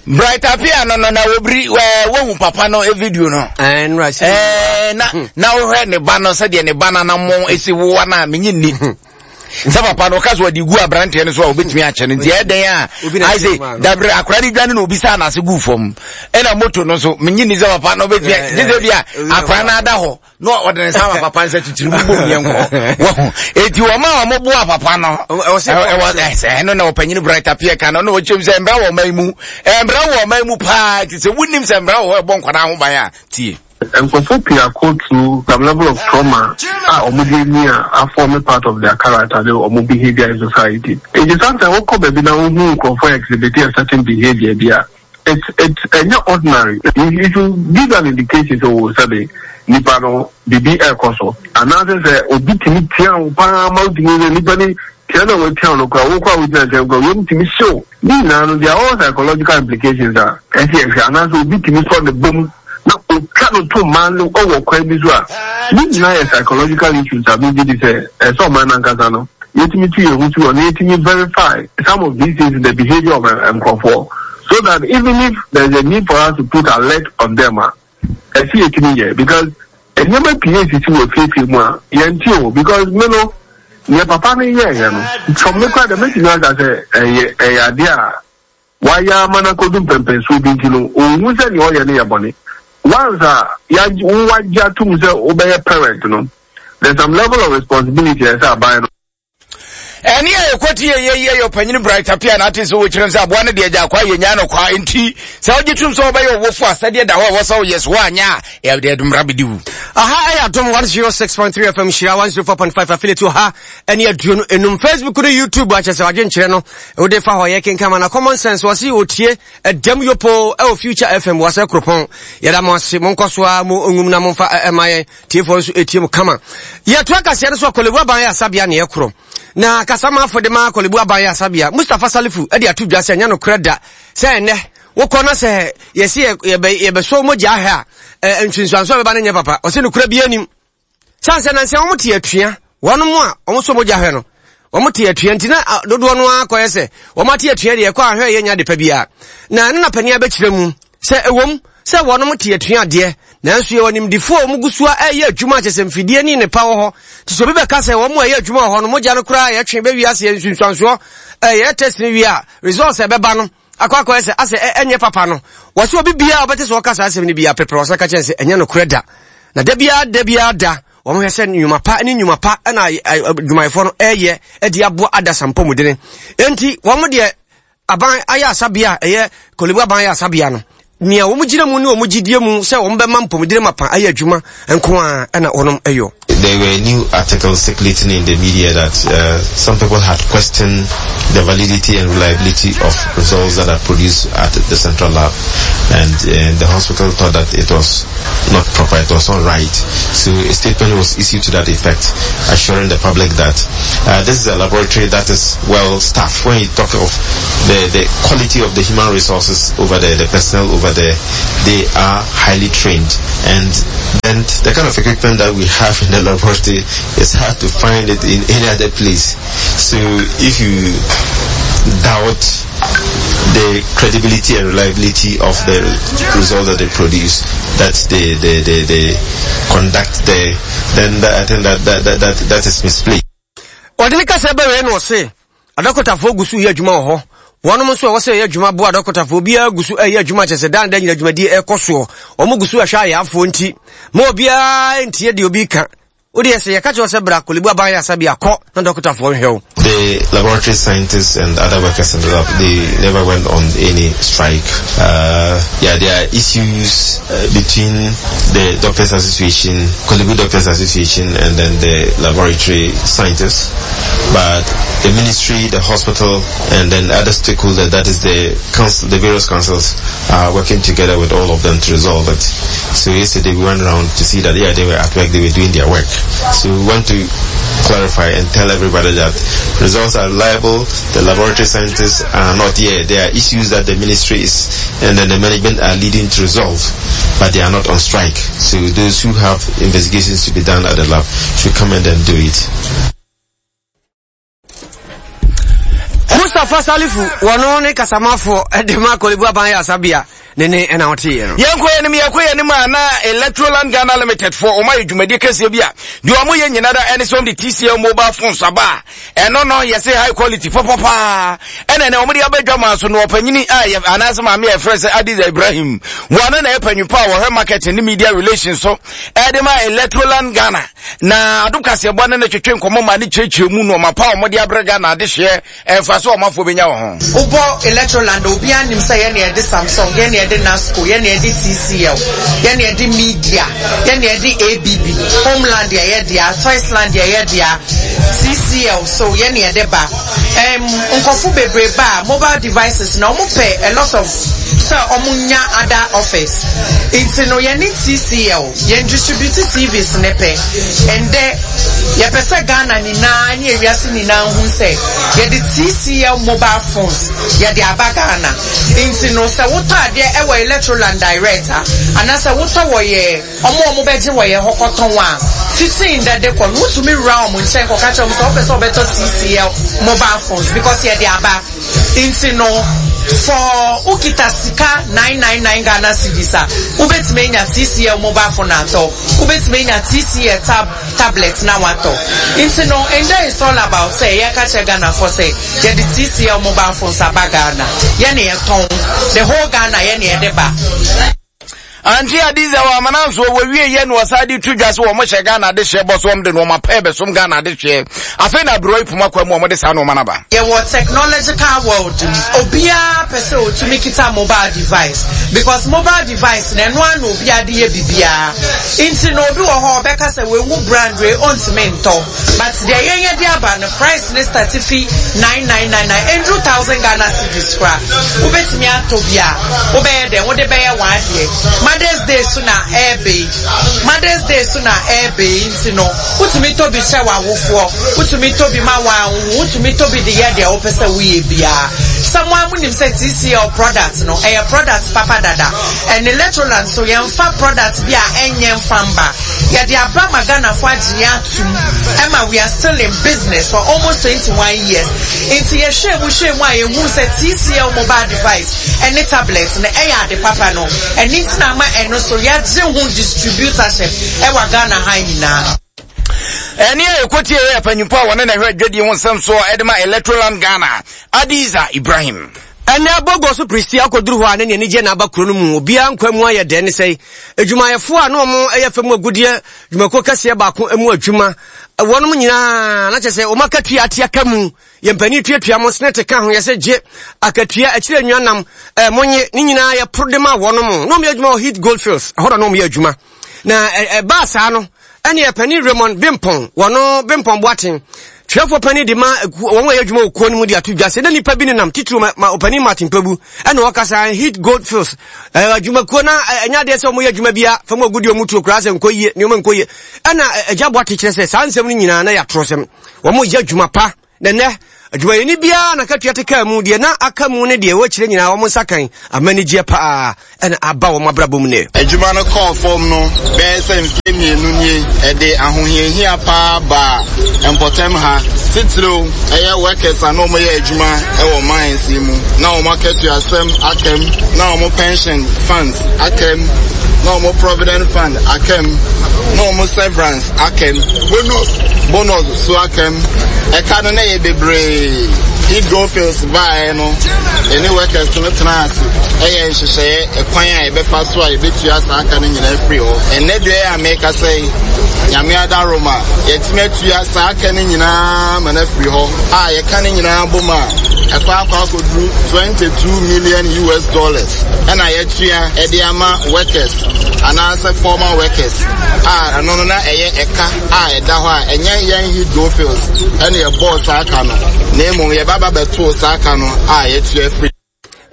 Speaker 4: Bright Appiah no no na wɔbiri ɛɛ wohu papa no video no.
Speaker 1: Ɛɛ nura si.
Speaker 4: Ɛɛ na hmm. na wohwɛ ne ba no sɛdeɛ ne ba no anamɔ esi wowa no a menye nni. Hmm. sɛ papa no ɔka so ɔde gu aberanteɛ no so a obetumi akyɛ no nti ɛyɛ dɛn a ayɛ sɛ dabere akora de dwane na obi sa n'ase gu fam ɛna moto no nso menye nni sɛ papa no obetumi gye sɛ bi a akora no ada hɔ na ɔde ne nsa ama papa nsa titiri mu bom yɛn kɔ wɔho eti wɔn a wɔn boa papa no ɛwɔ ɛsɛ ɛno na ɔpanyin bright appear kan no na ɔkyɛm sɛ mbra wɔ ɔman mu mbra wɔ ɔman mu paa ti sɛ wunim sɛ mbra wɔ hɔ ɛbɔ nkwadaa ho ban a tie.
Speaker 2: Nkurɔfoɔ pii akɔ through some level of trauma a wɔde anyi a afɔme part of their character ne wɔn behaviour in society. Nti sometimes wokɔ baabi na wohu nkurɔfoɔ exhibit a certain behaviour bi a, It's it's ɛnyɛ ordinary. It should give an indication sɛ o sɛbe nipa no biribi ɛrekɔ so. Anaasɛ sɛ obi tumi tia wo paa ma wotumi sɛ nipa ni tia na watia wo no koraa wo koraa wogyina nkyɛn koraa wiem tumi hyew. Ne nyinaa no there are all psychological implications a ɛsɛ yɛhwɛ anaasɛ obi tumi sɔ ne bom na otwa no to mmaa no wɔ kwan bi so a, ne nyinaa yɛ psychological issues a megye di sɛ ɛsɛ sɛ ɔman no ankasa no yɛtumi tu yɛn ho si hɔ na yɛtumi verify some of these things in the behavior of nkurɔfoɔ so that even if there is a need for us to put alert on them a, ɛsɛ yɛtumi yɛ because nneɛma pii esisi wɔ afiefie mu a yɛnte o because me no nea papa no yɛɛyɛ no from me koraa deɛ mɛtumi aka sɛ ɛyɛ ɛyɛ adeɛ a Wayɛ ama no akodu mpɛnpɛnsoɔ bi nti no, ɔnhu sɛ nea ɔyɛ no yɛ bɔne. Once a yɛagye, wo wagye atom sɛ wobɛyɛ parent no, there's some level of responsibility a ɛsɛ aban no.
Speaker 4: Ɛne a yɛkɔte yɛ yɛ yɛ ɔpanyini Bright Appiah na ate sɛ wɔkyerɛ sɛ aboa no deɛ agya akwa yɛnyaa no kwa nti sɛ wogye tom sɛ wobɛyɛ ɔwofo a sɛdeɛ da hɔ a ɛwɔ sɛ woyɛ so woanyɛ a ɛde mmara bɛdi wo.
Speaker 1: Aha ɛyɛ Adom 106.3 FM Hyira 104.5 affiliate wɔ ha ɛne 25 Facebook ne YouTube akyɛ sɛ wadwenkyerɛ no Wode fa hɔ yɛ kenkan ma na common sense wɔse otie ɛdɛm yopo ɛwɔ future fm wɔsɛ kuropɔn yɛda mo ase monkɔ so a mo nwum na momfa ɛma yɛn tiefoɔ nso ɛtie mu kama yɛtoa kaseɛ no so akɔlebu aban yɛ asabea ne ɛkorɔ na kasamafo de ma akɔlebu aban yɛ asabea Mustapha Salifu ɛde ato dwa sɛ ɛnyɛ nokorɛ da sɛ ɛnɛ wokɔ na sɛ yɛse yɛbɛsɔ mogya ahwɛ a ntwinsuanso a bɛba no nyɛ papa ɔse nokorɛ bi anim Sane sɛ nansa wɔn te atua, wɔn a wɔn sɔ mogya hwɛ no, wɔn te atua nti na dodoɔ no ara kɔyɛ sɛ wɔn ate atua deɛ ɛkɔ ahwɛ yɛ nya adepa biara. Na ɛno na panin abɛkyerɛ mu sɛ ɛwom sɛ wɔn te atua adeɛ, nanso yɛwɔ nimdefoɔ a wɔn gu so a ɛyɛ adwuma kyɛ sɛ mfidie ne nnepa wɔ hɔ. Nti sɛ obi bɛka sɛ wɔn a ɛyɛ adwuma wɔ hɔ no mogya no koraa yɛtwe bɛwie aseɛ nsunsuansoɔ ɛyɛ test no wie a results ɛbɛba no akɔ akɔyɛ sɛ asɛ ɛnyɛ papa no wɔsɛ obi biara ɔbɛte sɛ ɔka saa asɛm no biara pɛpɛrɛ ɔsan ka kyerɛ sɛ ɛnyɛ nokorɛ da na da biara da biara da wɔn hwɛ sɛ nnwuma pa ne nnwuma pa ɛna adwumayɛfoɔ no ɛyɛ ɛde aboa adasa mpɔmudene enti wɔn deɛ aban ayɛ asabea a ɛyɛ kolebu aban ayɛ asabea no. nea wɔn gyina mu ne wɔn gyidie mu sɛ wɔn bɛma mpɔmudene mapa ayɛ adwuma nko ara na wɔnom yɔ.
Speaker 11: There were new articles circulating in the media that uh, some people had questioned the validity and reliability of results that are produced at the central lab. And uh, the hospital thought that it was not proper, it was not right. So a statement was issued to that effect, assuring the public that uh, this is a laboratory that is well staffed. When you talk of the, the quality of the human resources over there, the personnel over there, they are highly trained. And then the kind of equipment that we have in the laboratory, it's hard to find it in any other place. So if you doubt the credibility and reliability of the result that they produce, that they, they, they, they conduct there, then that, I think that, that, that, that, that is misplaced.
Speaker 1: Ɔde ne kasa bɛwɛɛ na ɔse, Adɔkotafoɔ gu so yɛ adwuma wɔ hɔ. Wɔnom nso a ɛwɔ sɛ yɛyɛ adwuma boa adɔkotafoɔ biara gu so ɛyɛ adwuma kyɛ sɛ daa ne da nyina dwumadie ɛkɔ soɔ. Wɔn gu so ɛhwɛ ayaafoɔ nti ma obiara ntie deɛ obi ka. Wo deɛ sɛ yɛka kyerɛ wo sɛ bra Korle Bu Aban Ayaresabea kɔ na dɔkotafoɔ nhwɛ wo.
Speaker 11: The laboratory scientists and other workers in the lab, they never went on any strike. Uh, yeah, there are issues uh, between the Doctors Association, Korle Bu Doctors Association, and then the laboratory scientists. But the ministry, the hospital, and then other stakeholders, that is the council, the various councils, are working together with all of them to resolve it. So yesterday we went around to see that, yeah, they were at work, they were doing their work. So we want to clarify and tell everybody that results are reliable, the laboratory scientists are not here. There are issues that the ministry is and then the management are leading to resolve, but they are not on strike. So those who have investigations to be done at the lab should come and then do it.
Speaker 1: Mustapha Salifu wɔno ne kasamafoɔ de ma Korle Bu Aban Ayaresabea ne ne ɛna ɔteeɛ no.
Speaker 4: Yɛnkɔ yɛn anim yɛkɔ yɛn anim a na Electroland Ghana Limited foɔ wɔn ayɛ dwumadie kɛseɛ bi a deɛ wɔn yɛ nyina da ɛne sɛ wɔn de TCL mobile phones aba a ɛno no yɛse high quality papapaa ɛna ɛnɛ wɔn de aba dwa maa so no ɔpanyini a yɛ anaasɛ maame a yɛfrɛ sɛ Adiza Ibrahim wɔn na yɛ panyin pa a wɔhwɛ marketing ne media relations so ɛde ma Electroland Ghana Na Adom Kaseɛbɔ ne no twetwe nkɔmmɔ ma ne kyerɛkyerɛ mu nnoɔma pa a wɔde abrɛ Ghana adehyeɛ mfasoɔ a ɔmanfoɔ bɛnya wɔ ho.
Speaker 14: Wobɔ Electroland a, obiara nim sɛ yɛn na yɛde Samsung, yɛn na yɛde Nasco, yɛn na yɛde TCL, yɛn na yɛde Media, yɛn na yɛde ABB, Homeland yɛ yɛn dea, Toysland yɛ yɛn dea, TCL so yɛn na yɛde ba. Ɛm, nkurɔfo bebree ba a, mobile devices na wɔpɛ a lot of sɛ wɔnya other offers. Nti no yɛne TCL. Yɛn distribute TVs ne pɛ. Ɛndɛ, yɛpɛ sɛ Ghana nyinaa ne ewiase nyinaa hu sɛ yɛde TCL mobile phones yɛde aba Ghana. Nti no sɛ wotɔ adeɛ ɛwɔ Electroland direct a, anaasɛ wotɔ wɔ yɛ ɔmo a ɔmo bɛgye wɔ yɛ hɔ kɔtɔn a, fiti ndɛ de kɔ no wotumi wura ɔmo nkyɛn kɔka kyerɛ ɔmo sɛ wopɛ sɛ wobɛtɔ TCL mobile phones because yɛde aba. Nti no for wokita sika 999 Ghana cedis a, wobɛtumi anya TCL mobile phone atɔ, wobɛtumi anya TCL tab tablet na watɔ. Nti no ndɛ it's all about sɛ yɛka kyerɛ Ghanafoɔ sɛ yɛde TCL mobile phones aba Ghana, yɛne yɛtɔn, the whole Ghana yɛne yɛde ba.
Speaker 4: Auntie Adiza wɔ amana nso wɔwie yɛ na wɔsan de to dwa sɛ wɔn hyɛ Ghana adehyeɛ bɔ so wɔn de nneɛma pɛɛ bɛsom Ghana adehyeɛ. Afei na aberewa yi poma kwa mu wɔn de saa nneɛma no aba.
Speaker 14: Yɛwɔ technological world mu, obiara pɛ sɛ otumi kita mobile device because mobile device no ɛno ara na obiara de yɛ biribiara. Nti no obi wɔ hɔ a ɔbɛka sɛ wahu brand wei ontumi ntɔ. But deɛ yɛn yɛde aba no price no start fi 9999 ɛnduru thousand Ghana cedis koraa wobɛtumi atɔ bi a wobɛyɛ dɛn wode bɛyɛ w'adeɛ Mother's Day so na ɛɛbɛ yi Mother's Day so na ɛɛbɛ yi nti no wotumi tɔ bi kyɛ w'awofoɔ wotumi tɔ bi ma wɔn wotumi tɔ bi de yɛ deɛ wopɛ sɛ woyɛ biara sɛ mo a monim sɛ TCL product no ɛyɛ product papa dada ɛne Electroland so yɛmfa product bi a ɛnyɛ mfa mba Yɛde aba ma Ghanafoɔ agye yɛn atom ɛma we are still in business for almost 21 years. Nti yɛhwɛɛ mu hwɛɛ mu a yɛhuu sɛ TCL mobile device ɛne tablet no ɛyɛ ade papa no ɛno nti na ama ɛno so yɛagye ho distributorship ɛwɔ Ghana ha nyinaa.
Speaker 4: Ɛne a ɛkɔtie yɛ panyimfo a wɔne na ɛhwɛ adwadie ho nsɛm soɔ ɛde ma Electroland Ghana, Adiza Ibrahim.
Speaker 1: Ɛnnɛ Bogor so Pristia akɔduru hɔ a na ne anigyeɛ na aba kuro no mu. Obiara nkwa mu ayɛ dɛ ne sɛe. Adwumayɛfoɔ a na wɔyɛ fam agudeɛ dwumakuo kɛseɛ baako mu adwuma, wɔnom nyinaa na kyerɛ sɛ wɔn akatua ate aka mu. Yɛn mpanin tuatua mo senate ka ho yɛsɛ gye akatua akyire nnuanam eh, monye ne nyinaa yɛporo de ma wɔnom na wɔyɛ adwuma wɔ Heath Goldfields ɛhɔ na na wɔyɛ adwuma na ɛbaa saa no ɛne panin Raymond Bimpong wɔno Bimpong Boateng twerɛfoɔ panin de ma wɔn a ɛyɛ adwuma wɔ kuo no mu de ato dwa sɛ na nipa bi nenam titiriw ma, ma ɔpanin Martin Kpebu ɛna ɔkasa Heath Goldfields adwumakuo na ɛnyɛ adeɛ sɛ wɔyɛ adwuma bia fam agudeɛ wɔn tuo koraa sɛ nkɔ yie nneɛma nkɔ yie ɛna agya Boateng kyerɛ sɛ saa nsɛm no nyinaa na yɛ atorɔsɛm wɔn yɛ adwuma pa Na nnɛ, adwumayɛni biara n'akatua te kaa mu, deɛ na aka mu ne deɛ ɛwɔ akyire nyinaa wɔn nsa kan ama anigyeɛ paa na aba wɔn abrabɔ mu nnɛ.
Speaker 15: Adwuma no kɔɔ fam no bɛyɛ sɛ mfeɛ mmienu nie. Ɛde ahohiahia paa baa mpɔtam ha, titiriw ɛyɛ workers a na wɔyɛ adwuma wɔ mines yi mu. Na wɔn akatuasɛm aka mu, na wɔn pension funds aka mu, na wɔn provident fund aka mu, na wɔn severance aka mu, bonus bonus so aka mu. Ɛka no na ɛyɛ bebree. Heat Goldfields baeɛ no, yɛne workers no tenaa ase ɛyɛ nhyehyɛeɛ ɛkwan a yɛbɛfa so a yɛbɛtua saa aka no nyinaa afiri hɔ. Ɛnnɛ deɛ a mekasa yi, Nyame adaworoma, yɛatumi atua saa aka no nyinaa ma no afiri hɔ a yɛka no nyinaa bom a, ɛkɔ akɔ akɔduru 22 million US dollars ɛna yɛatua ɛde ama workers anaasɛ former workers a ɛno no na ɛyɛ ɛka a ɛda hɔ a ɛnyɛ yɛn Heath Goldfields ɛna yɛbɔɔ saa ka no na mmom yɛba ba bɛtoo saa ka no a yɛtua afiri.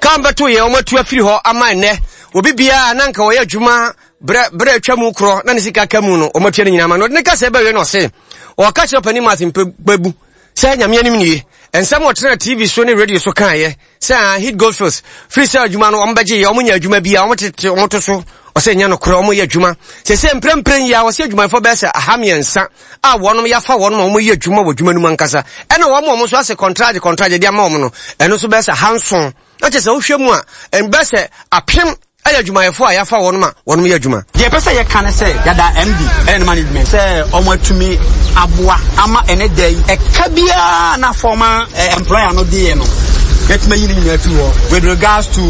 Speaker 1: Ka bɛto yɛn wɔn atu afiri hɔ ama ɛnnɛ obi biara na nka ɔyɛ adwuma berɛ berɛ atwa mu korɔ na ne sika ka mu no wɔn atua no nyinaa ma no ɔde ne kasa ɛbɛwie no ɔse ɔka kyerɛ ɔpanin Martin Kpebu sɛ nyame anim nie nsɛm ɔtena TV so ne radio so kaeɛ sɛ ah, Heath Goldfields firi sɛ adwuma no wɔn bɛgye yɛ wɔn nya adwuma bi a wɔn tete wɔn to so ɔsɛ nyɛ nokorɛ wɔn yɛ adwuma sɛ sɛ mprempren yi a wɔsɛ adwumayɛfoɔ bɛyɛ sɛ aha mmiɛnsa a wɔn yɛafa wɔn ma wɔn yɛ adwuma wɔ adwuma no mu ankasa ɛna wɔn a wɔn nso asɛ kɔntragye kɔntragye de ama wɔn no ɛno nso bɛyɛ sɛ ahanson na kyerɛ sɛ wohwɛ mu a ɛbɛyɛ sɛ apem ɛyɛ adwumayɛfoɔ a yɛafa wɔn ma wɔn yɛ adwuma.
Speaker 16: Deɛ ɛpɛ sɛ yɛka ne sɛ yɛda MD ɛne ne management sɛ wɔn atumi aboa ama ɛne da yi ɛka biara na former eh, employer no deɛ no yɛtumi ayi ne nyinaa afiri hɔ with regards to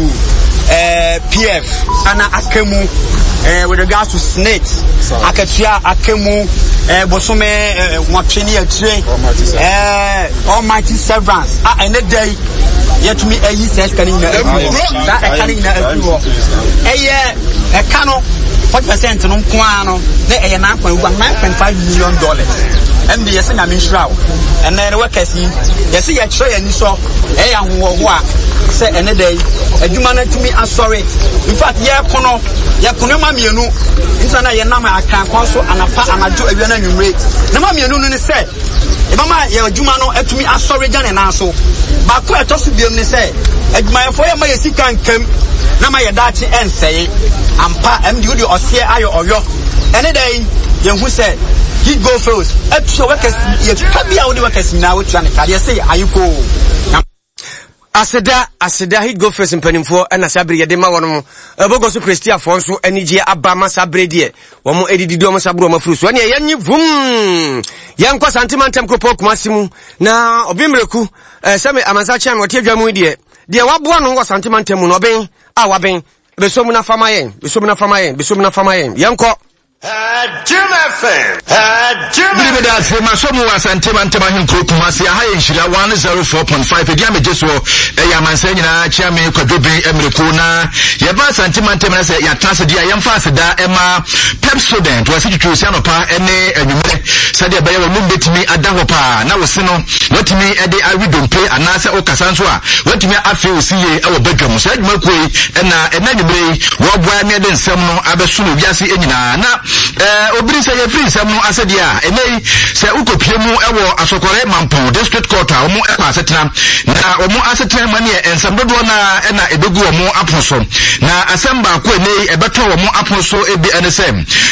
Speaker 16: eh, PF ana aka mu eh, with regards to SSNIT akatua aka mu eh, bosome eh, nwɔtwe ne akyire eh, almighty severance a ɛne da yi yɛtumi ayi saa sika no nyinaa afiri hɔ saa ɛka no nyinaa afiri hɔ ɛyɛ ɛka no 40 percent no nko ara no na ɛyɛ 9.5 million dollars ɛnde yɛsɛ nyame nhyira wo ɛnɛ no workers yi yɛsɛ yɛkyerɛ yɛn ani sɔ ɛyɛ ahoɔhoɔ a sɛ ɛne da yi adwuma no atumi asɔre in fact yɛko no yɛko nneɛma mmienu ntina na yɛnam akrankwan so anapa anadwo awia no anwummere nneɛma mmienu no ne sɛ Yɛbɛma yɛn adwuma no atumi asɔre agya ne nan so. Baako a ɛtɔ so biom ne sɛ, adwumayɛfoɔ yɛmma yɛn sika nkam na ma yɛn daakye ɛnsɛe. Ampa, ɛmde wode ɔseɛ ayɛ ɔyɔ. Ɛne da yi, yɛhu sɛ Heat Gold Fields atua workers, yɛtwa bi a wode workers nyinaa wotua ne ka. Deɛ se ayekoo. Na.
Speaker 1: Aseda, aseda, Heat Gold Fields mpanimfoɔ ɛna saa bere yɛde ma wɔn mo. Ɛbɔgɔ so Prestiafoɔ nso anigyeɛ aba ma saa bere deɛ wɔn adidi de wɔn nsa boro wɔn afuru so. Ɛneɛ yɛnye vum yɛnkɔ Santema ntɛm kuropɔn Kumasi mu na ɔben mmireku eh, sɛ me amansa kyɛn me ɔte adwa mu yi deɛ deɛ waboa no wɔ Santema ntɛm mu no ɔben a waben bɛsɔ mu na fa ma yɛn bɛsɔ mu na fa ma yɛn bɛsɔ mu na fa ma yɛn yɛnkɔ.
Speaker 4: Bere bi da ase masɔ mu wɔ Asante mantam ahenkuro Kumasi. Aha yɛ Nhyira 104.5. Ɛdi a megye soɔ ɛyɛ amansan nyinaa kyea me Kwadwo Ben Mmereko na yɛba Asante mantam na sɛ yɛatena ase deɛ a yɛmfa aseda ɛma Pepsodent wɔase twitwi osi anɔpa ne anwummerɛ sɛdeɛ ɛbɛyɛ wɔn bɛtumi ada hɔ paa na wo se no watumi de awe dompe anaasɛ wokasa nso a watumi afe wo se yie wɔ badwam. Saa adwumakuo yi na ɛna anwummerɛ yi Wɔboa na yɛde nsɛm no abɛsom wiase nyinaa. Na eh, obiri sɛ yɛfiri nsɛm no ase deɛ a, ɛnɛ yi sɛ wokɔpie mu wɔ Asɔkɔre Mampɔn District Court a wɔn kɔ asetena na wɔn asetena mu neɛ nsɛm dodoɔ no ara na ɛbɛgu wɔn apono so. Na asɛm baako ɛnɛ yi ɛbɛtɔ wɔn apono so bi ɛne sɛ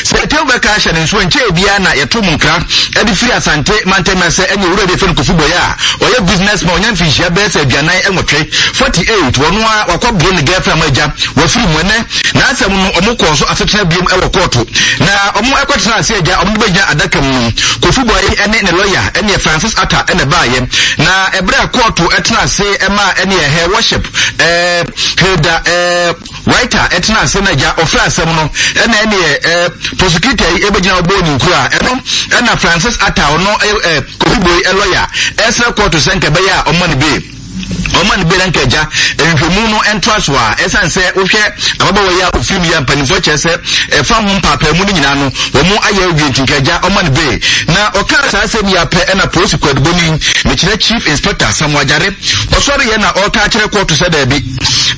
Speaker 4: sɛ ɛtɛm bɛka ahyɛ ne nso nkyɛɛ biara na yɛto mu nkra ɛde firi Asante mantam sɛ ɛne owura bi ɛfɛ no Kofi Boyɛ a ɔyɛ business man ɔnya mfinhyia bɛyɛ sɛ 48 48 wɔn a wakɔ boro ne girlfriend ma agya Wɔfiri mu ɛnɛ n'asɛm no ɔmo kɔɔ so asetena biom ɛwɔ kɔɔto na ɔmo ɛkɔtena ase agya ɔmo de bɛgyina adaka mu no Kofi Boye ɛne ne lɔya ɛneɛ Francis Atta ɛna ɛbaayɛ na ɛberɛ a kɔɔto ɛtena ase ɛmaa ɛneɛ her worship ɛɛ Hilda ɛɛ. Writer ɛtena ase na agya ɔfrɛ asɛm no ɛna ɛneɛ ɛɛ prosecutor yi ɛbɛgyina ɔbɔ ne nkuro a ɛno ɛna Francis Atta ɔno ɛɛ eh, Kofi Boy lɔya ɛsrɛ kɔɔto sɛ nka ɛbɛyɛ a ɔma no bail ɔma no bail nka agya nhwɛmu no ntoa so a ɛsan sɛ wohwɛ ababaawa yi a ofiri mu yi a mpanimfoɔ kyerɛ sɛ ɛfa ho mpaapaamu no nyinaa no wɔn ayɛ awie nti nka agya ɔma no bail na ɔkaa saa asɛm yi apɛ ɛna polisi kwaduboni mekyerɛ chief inspector Samuel Agyare ɔsɔre yɛ na ɔka akyerɛ kɔɔto sɛ daabi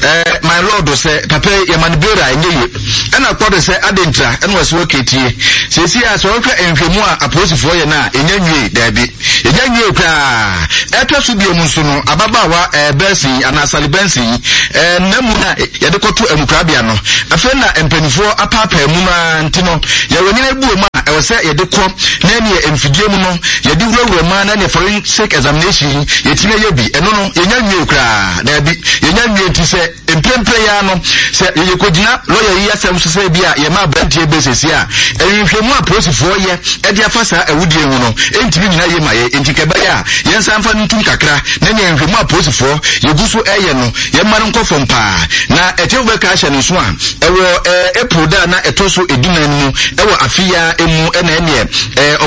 Speaker 4: ɛɛ my lord sɛ papa yi yɛma no bail a ɛnyɛ yie Ɛna kɔ do sɛ, Adɛn ntira? Ɛna ɔse, Okay, tie. Seesei a sɛ wohwɛ nhwɛmu a apolisifoɔ yɛ no a, yɛnnya nwiei. Daabi. Yɛnnya nwiei koraa. Ɛtɔ so biom nso no, ababaawa eh, Benson yi, anaa Sally Benson yi, eh, nna mu na yɛde kɔto amukorabea no. Afei na mpanimfoɔ apaapaa mu no ara nti no, yɛwɔ nneɛma bi wɔ mu a ɛwɔ sɛ yɛde kɔ na ɛneɛ mfidie mu no, yɛde wurawura mu ara na ɛneɛ forensic examination yi, yɛtumi ayɛ bi. Ɛno no, yɛnnya nwiei koraa. Daabi. Yɛnnya nwiei nti sɛ Mprempren yi ara no, sɛ yɛkɔgyina lɔya yi asɛm so sɛ ebia yɛma aberanteɛ bɛ seesei a, nhwehwɛmu a apolisifoɔ yɛ de afa saa awudie ho no ntumi nnyina yie ma yɛn. Enti nka ɛbɛyɛ a yɛnsan mfa no ntom kakra na nea nhwehwɛmu a apolisifoɔ yɛgu so reyɛ no, yɛmma no nkɔ fam paa. Na atiefo bɛka ahyɛ no nso a, ɛwɔ April da a na ɛtɔ so edunan no mu wɔ afe yi ara mu na ɛneɛ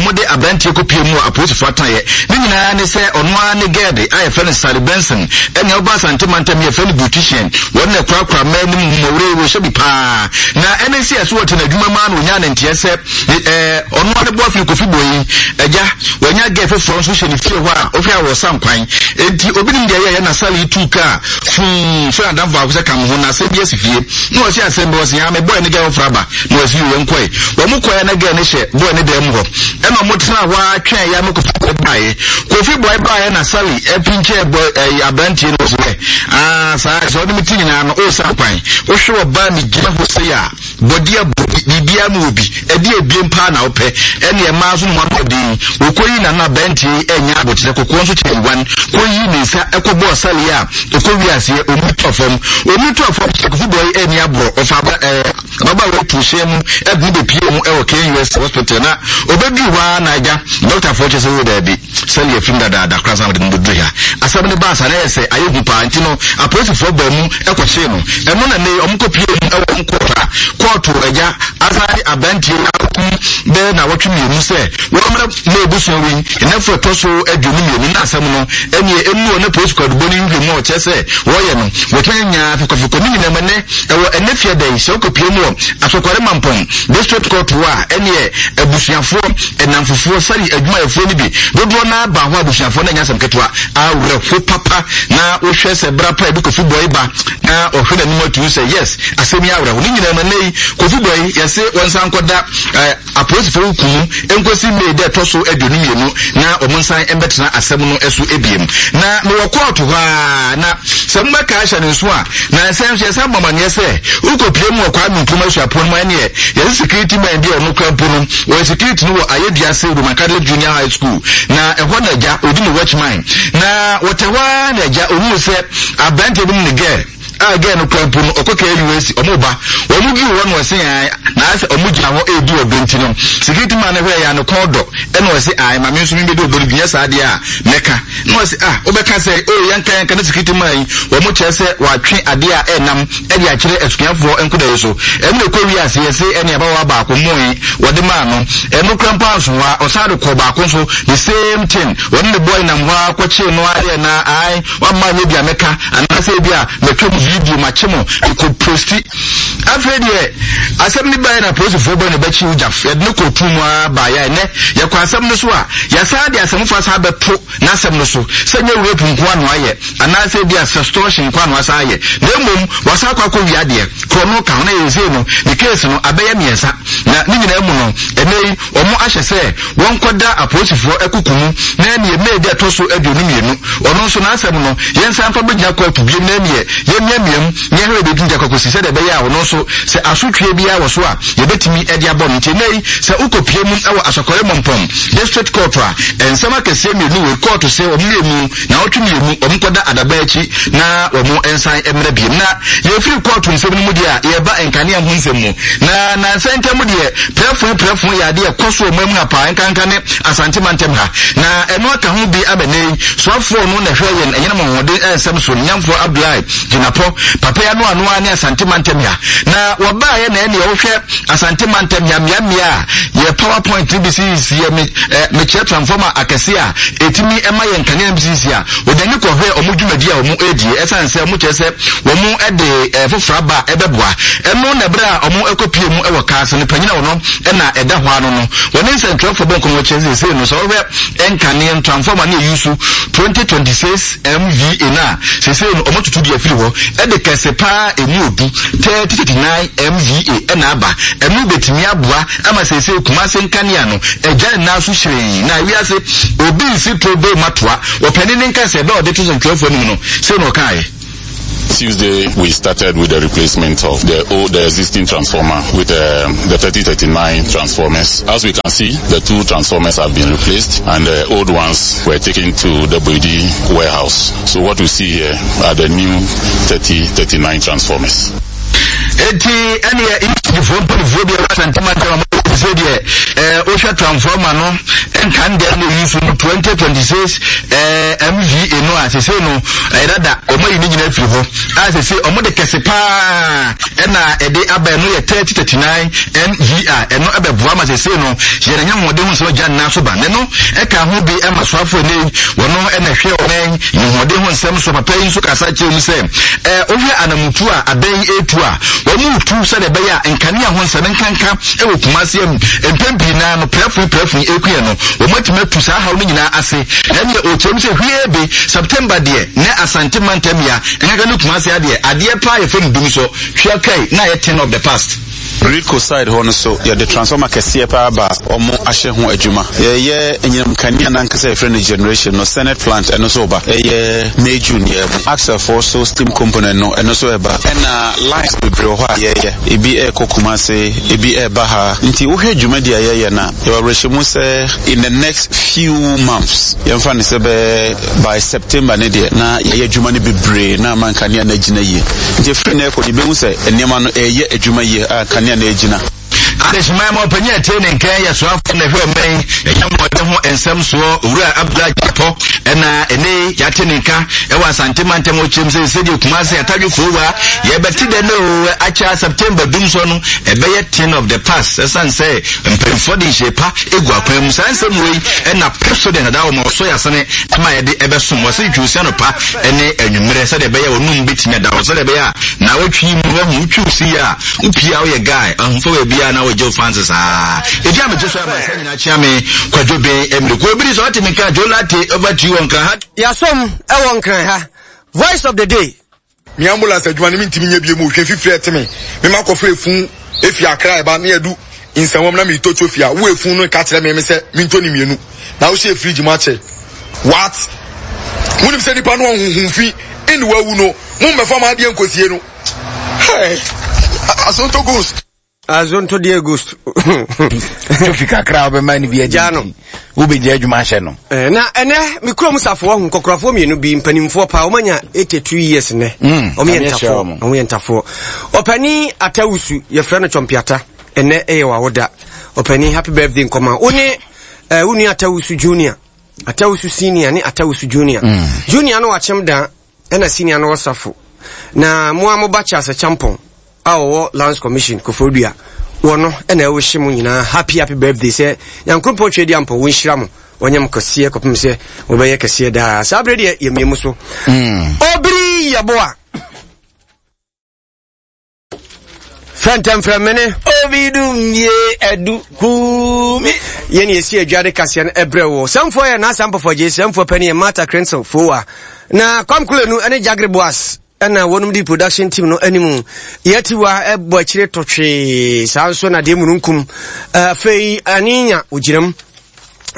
Speaker 4: wɔde aberanteɛ kɔpie mu wɔ apolisifoɔ atenaeɛ. Ne nyinaa ne sɛ ɔno ara ne gɛɛde a yɛfrɛ no Sally Benson ɛnea ɔba Asante mantam yɛfrɛ no beautician. Wɔn na ɛkorakora mmaa anim mmɔwerɛ wɔhyɛ bi paa. Na ɛne sɛ ɛso wɔte n'adwuma mu ara na ɔnyaa ne nteɛ sɛ ɔno ara ne boafiri Kofi Boyi agya wanya gɛɛ foforɔ nso hyɛ ne fie hɔ a ɔhwɛ a wɔsa nkwan. Enti obi nim deɛ ɛyɛeɛ na Sally tuu kaa fuu frɛ n'adamfo baako sɛ ka me ho na asɛm bi asi fie. Na ɔse asɛm bi ɔse haa me boy ne gɛɛ foforɔ aba. Na ɔse yoo yɛnkɔe. Wɔn kɔeɛ na gɛɛ no hyɛ boy ne dan mu hɔ. Ɛna wɔn tenaa hɔ ara twɛn ya no Kofi boy baeɛ. Kofi boy baeɛ na Sally apinkyɛɛ boy ɛyi aberanteɛ no ɔse hwɛ aa saa sɛ ɔne me ti nyinaa no ɔresa kwan. Wohwɛ ɔbaa me gyina hɔ sei a bɔdi abɔdi biribiara mu wɔ bi ɛde ebien paa na wopɛ ɛne ɛmaa nso no mu ano den. Wɔkɔyi nana aberanteɛ yi ɛnyɛ abokyerɛ kɔkɔɔ nso kyɛ yiwan kɔyi ne nsa ɛkɔbɔɔ Sally a ɔkɔ wi aseɛ ɔmu tɔ fam ɔmu tɔ fam sɛ Kofi boy ɛni aborɔ ɔfa aba ɛɛ Ababaawa tu hyɛn mu de no bepue mu wɔ KNUST Hospital na obeduru hɔ ara na agya dɔktafoɔ kyerɛ sɛ oo daabi, Sally afim dadaada koraa ansa na wɔde no bɛduru ha. Asɛm no baa saa na ɛyɛ sɛ ayɛ hu paa nti no apolisifoɔ baa mu kɔkyee no. Ɛno na nnɛ yi wɔkɔpue mu wɔ wɔn kɔɔto a kɔɔto agya asan de aberanteɛ yi atom bɛyɛ nnawɔtwe mmienu sɛ wɔmmra ma abusua wei nnafua ɛtɔ so 22 na asɛm no ɛneɛ ɛmu wɔ ne polisi kwadubɔ no nhwɛ mu a ɔkyerɛ sɛ wɔyɛ no wɔtumi anya fikɔfikɔ ne nyinaa mu ɛnɛ Ɛwɔ ɛnnɛ fiada yi, sɛ wokɔpue mu wɔ Asɔkware Mampɔn District Court hɔ a, ɛneɛ abusuafoɔ, nnamfofoɔ, sari adwumayɛfoɔ no bi dodoɔ no ara baa hɔ a abusuafoɔ no anyɛ asɛm ketewa. Awerɛho papa na wohwɛ sɛ berɛ pa ebi Kofi Boy ba na ɔhwɛ n'anim atumi sɛ yes, asɛm yi awerɛho. Ne nyinaa mu ɛnnɛ yi, Kofi Boy yɛse wɔnsan nkɔda eh, Apolisifo nku mu nkosi May da ɛtɔ so 22 na wɔn nsan mbɛtena asɛm no so ebiem. Na mewɔ kɔɔto hɔ ara na sɛ mobɛka ahyɛ no nso a, na nsɛm nso yɛsan bɔ amanneɛ sɛ wokɔpie mu wɔ Kwame Nkrumah Suapɔn mu a ɛneɛ yɛse security man bi a ɔno kora mpo no ɔyɛ security no wɔ Ayeduase Roman Catholic Junior High School na ɛhɔ na agya ɔdi ne watchman na wɔtɛ hɔ ara na agya ɔhuu sɛ aberanteɛ bi ne ne girl a girl no kura mpo no ɔkɔ KUAC ɔmo ba wɔn duru hɔ na ɔse ae na ayɛ sɛ ɔmo gyina hɔ edi ɔdɔ nti no security man no hwɛ yɛ ano kɔn dɔ ɛna ɔse ae maame nso mi bedi ɔdɔ no bi nyɛ saa deɛ a mɛka na ɔse ah wobɛka sɛ o oh, yɛnka yɛnka na security man yi wɔn kyerɛ sɛ wɔatwe adeɛ a ɛnam ɛde akyerɛ asuafoɔ nkoda yi so ɛno ɛkɔ wi ase yɛse ɛne abawa baako moe wɔde maa no ɛno kura mpo anso hɔ a ɔsan de kɔ baako nso the same thing wɔne ne boy nam hɔ a kɔkyee no ayɛ na ae Wamma anyɛ bi a mɛka anaasɛ ebi a matwa mo video makye mo mekɔ posti. Afei deɛ asɛm no baeɛ na apolisifoɔ bɔ ne bɛkye Ujaf yɛde no kɔɔ tuu mu ara baeɛ a ɛnɛ yɛkɔ asɛm no so a yɛasan de asɛm foforɔ asan abɛto n'asɛm no so sɛ nyɛ rape nko ano ayɛ anaasɛ ebi a sextortion nko ano asan ayɛ na mmom wasan akɔ akɔ wia adeɛ korɔ no ka ho na yɛsei no ne case no abɛyɛ mmiɛnsa na ne nyinaa mu no ɛnɛ yi wɔn ahyɛ sɛ wɔnkɔda apolisifoɔ akuku mu na ɛneɛ May da ɛtɔ so 22, ɔno nso n'asɛm no yɛnsan mfa bɛgyina kɔɔto biom na ɛneɛ yɛmmiamia mu na yɛhwɛ baabi ɛtumi de akɔ akɔsi sɛdeɛ ɛbɛyɛ a ɔno nso sɛ asotweɛ biara wɔ so a yɛbɛtumi de abɔ no. Nti ɛnnɛ yi sɛ wokɔpie mu wɔ Asɔkɔre Mɔmpɔn District Court a, nsɛm akɛseɛ mmienu wei kɔɔto se wɔn mmienu Naawɔtwe mmienu, wɔnkɔda adaban akyi na wɔn nsan mmra biem. Na yɛfiri kɔɔto nsɛm no mu deɛ a, yɛreba nkanea ho nsɛm mu. Na nansa ntam deɛ, prɛfoe prɛfoe yɛ adeɛ ɛkɔ so wɔ man mu ha paa, nkanka ne Asante mantam ha. Na ɛno aka ho bi ama nnɛ yi, soafoɔ no na ɛhwɛ yɛn anyinam ahoɔden nsɛm so, Nyamfoɔ Abdullahi Jinapor.
Speaker 17: Jinapɔ papa yi ano ano ara ne Asante mantam ha na wɔbaeɛ na ɛneɛ wohwɛ Asante mantam ha mmeammea a yɛ power point no bi sisi yɛ me eh, mekyerɛ transformer akɛse a ɛtumi ɛma yɛ nkanea no bi sisi a wɔde ani kɔhwɛ wɔn dwumadi a wɔn ɛredie ɛsiane sɛ wɔn kyerɛ sɛ wɔn ɛde eh, foforɔ aba a ɛbɛboa ɛno na ɛberɛ a wɔn ɛkɔpie mu ɛwɔ kaa so no panyin a wɔn ɛna ɛda hɔ ano no wɔne nsɛntwerɛfoɔ bɔ nkɔmmɔ kyerɛ sɛ sei no sɛ wɔhwɛ nkanea transformer ne ɛyi so 2026 MVA no a seesei no wɔatutu de afiri hɔ de kɛse paa emu odu 3039 MVA ɛna aba. Ɛno betumi aboa ama seesei Kumase nkanea no agya ne nan so hyerɛnn na wiase obi nsi torobee matoa. Ɔpanin no nka sɛ bɛ a ɔde to sɛntwerɛfoɔ anim no, sei na ɔkaeɛ.
Speaker 18: Tuesday, we started with the replacement of the old, the existing transformer with um, the 3039 transformers. As we can see, the two transformers have been replaced and the old ones were taken to the Boidi warehouse. So what we see here are the new 3039 transformers.
Speaker 17: Eti ɛneɛ ECGfoɔ mpanimfoɔ bi a ɛwɔ Asante mantam a wɔn sɛ deɛ ɛɛ wohwɛ transformer no nkan deɛ na eyi so no 2026 ɛɛ MVA no a sese no ɛyɛ dada wɔn ayi ne nyinaa firi hɔ a sese wɔn de kɛse paa ɛna ɛde aba ɛno yɛ 3039 MVA ɛno ɛbɛboa ma sese no yɛn anya ahoɔden ho nsɛm gya nnan so ba ne no ɛka ho bi ɛma soafo ɛnɛ yi wɔn ɛna ɛhwɛ wɔn ahoɔden ho nsɛm so papa yi nso kasa kyerɛ mu sɛ ɛɛ wohwɛ anamutu a abɛn yi etu a wɔn retu sɛdeɛ ɛbɛyɛ a nkanea ho nsɛm nkanka wɔ Kumasi mu mpɛn pii naa no prɛfo prɛfo yi ekuɛ no wɔn atumi atu saa haw no nyinaa ase na ɛneɛ ɔkyerɛ mu sɛ hwie be September deɛ na Asante mantam ya nkanka ne Kumasi adeɛ adeɛ paa yɛfrɛ no dum so twia kai na ayɛ thing of the past.
Speaker 19: Gridco side hɔ no so yɛde transformer kɛseɛ paa ba a wɔn ahyɛ ho adwuma. Yɛyɛ anyinam kanea no ankasa yɛfrɛ no generation no Senate plant ɛno nso reba. Ɛyɛ May June yɛ mu. Axle foɔ so steam component no ɛno nso ɛreba. Ɛna lines bebree wɔ hɔ a yɛyɛ. Ebi ɛrekɔ Kumasi, ebi ɛreba ha. Nti wohwɛ dwumadi a yɛyɛ no a, yɛwɔ awerɛhyɛmu sɛ in the next few months, yɛmfa no sɛ bɛyɛ by September no deɛ na yɛayɛ adwuma no bebree na ama nkanea no agyina yie. Nti ɛfiri nnɛ rekɔ no yɛbɛhu sɛ nneɛma no ɛreyɛ adwuma yie a nkanea no agyina.
Speaker 17: Adehyeman ma ɔpanyin a ɛte ne nkan yɛ soafo na ɛhwɛ ɔman yi ɛyɛ mmɔden ho nsɛm soɔ Owura Abdullah Gyapɔ ɛna ɛne yɛate ne nka ɛwɔ Asante mantam ɔkyerɛm sɛ sɛdeɛ Kumase atadwe foowa yɛbɛte dɛ no akyɛ September dum so no ɛbɛyɛ thing of the past ɛsan sɛ mpanyinfoɔ de nhyɛ pa egu akwan mu saa nsɛm wei ɛna Pepsodent adaa wɔn ɔsɔ yasene ɛma yɛde ɛbɛsom wɔse ntwiwsia no pa ɛne anwummerɛ sɛdeɛ ɛbɛyɛ wɔnum bɛtumi ada hɔ sɛdeɛ ɛbɛyɛ a na wɔtwi mu wɔhu wotwiw si yɛ a wopie a woyɛ guy ahomfa wɔ biara na wogye wo fans saa ɛdi a megye so ama sɛ nyinaa kyea me kwadwo ben mmere kuo biri sɛ ɔte me nka Joe Latte over to you wɔ nkran ha.
Speaker 1: Yɛasom wɔ nkran ha. Voice of the day.
Speaker 20: Me ambulance adwuma no mentumi nyɛ bio mu hwɛ fifiri ɛte me me ma kɔfa efun efi akra ɛba ne yɛdu nsɛnwam na meretɔ tsofi a wo efun no ka kyerɛ me me sɛ mentɔ ne mmienu na wohyɛ fridge mu akyɛ what wonim sɛ nipa no ɔhuhu fi ɛne wawu no mo mmɛfa mo adeɛ nkosie no hey asonto ghost.
Speaker 1: Azonto deɛ ghost.
Speaker 4: Tofi kakra a wobɛma no bi agya no. Wobɛgya adwuma ahyɛ no.
Speaker 1: Eh, na ɛnɛ me kurom safoɔ ho nkɔkorafoɔ mmienu bi mpanimfoɔ paa wɔn anya 82 years nnɛ. Mm, wɔn yɛ ntafoɔ. Wɔn yɛ ntafoɔ. Ɔpanin Atawusu yɛfrɛ no Twɔmpiata ɛnɛ ɛyɛ wawoda. Ɔpanin happy birthday nkɔma. Wo ne eh, wo nua Atawusu junior, Atawusu senior ne Atawusu junior. Mm. Junior no wakyem dan ɛna senior no wɔ safo. Na mo a mo ba Charles Champon a ɔwɔ Lands Commission Koforidua wɔ no ɛna ɛwohye mo nyinaa happy happy birthday sɛ Nyankoropɔn twɛ di ampɔ wɔnhyira mo wɔnyɛ mo kɛseɛ kɔpem sɛ wɔbɛyɛ kɛseɛ daa saa berɛ deɛ yɛmmie mu so mm. Obiri yɛboa fɛntɛmfrɛmene
Speaker 4: obi dum ye adu kumi
Speaker 1: yɛne yɛsi adwa de kaseɛ no ɛbrɛ wɔ sɛmfoɔ yɛ naasa mpɔfɔ gye sɛmfoɔ pani yɛ Martha Krensel fowa na Kwam Kulenu ne Jagre Boas ɛna wɔnom di production team no anim yɛatiwa ɛbɔ akyire tɔtwee saa nso na deɛ mununkum afei ane nya ogyinam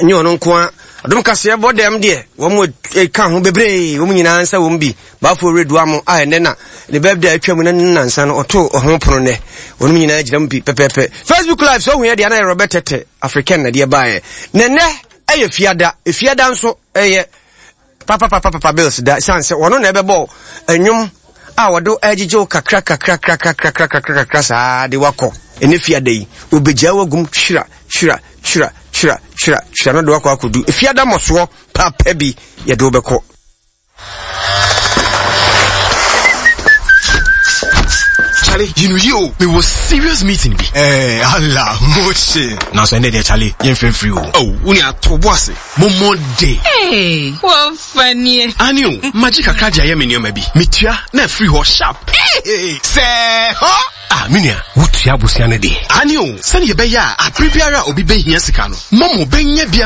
Speaker 1: nye ɔno nko a adom kaseɛ bɔ dɛm deɛ wɔn ka ho bebree wɔn nyinaa nsa wɔn bi baafo redua mo a ɛnɛ na ne birthday atwa mu na ne nansa no ɔto ɔho pono nɛ wɔn nyinaa gyina mu bi pɛpɛpɛ facebook live sɛ ohun yɛ deɛ ana yɛ Robert Tete African na deɛ baeɛ na ɛnɛ ɛyɛ fiada fiada nso ɛyɛ Papapapapa bills da ɛsiane sɛ ɔno na ɛbɛbɔ nnwom a wɔde ɛgyegye wo kakra kakra kakra kakra kakra kakra saa de wakɔ ɛne fiada yi obɛgyaa wagum twira twira twira twira twira twira no de wakɔ akɔdu fiada mmɔsoɔ papa bi yɛde wobɛkɔ.
Speaker 21: Charlie, you know you, me was serious meeting bi.
Speaker 22: Eh, Allah, motion.
Speaker 21: Nanso ɛnɛ deɛ Charlie, yɛmfrɛ mfiri o. Oh, wo nua to bo ase. Momo de.
Speaker 23: Hey, wɔfa nie.
Speaker 21: Ani o, magye kakra de ayɛ me nneɛma bi. Metua na afiri hɔ sharp. Hey, sɛ hɔ. Ah, me nua, wotua abusua no deɛ. Ani o, sɛnea ɛbɛyɛ a abere biara a obi bɛhia sika no, Momo bɛnya bi ama.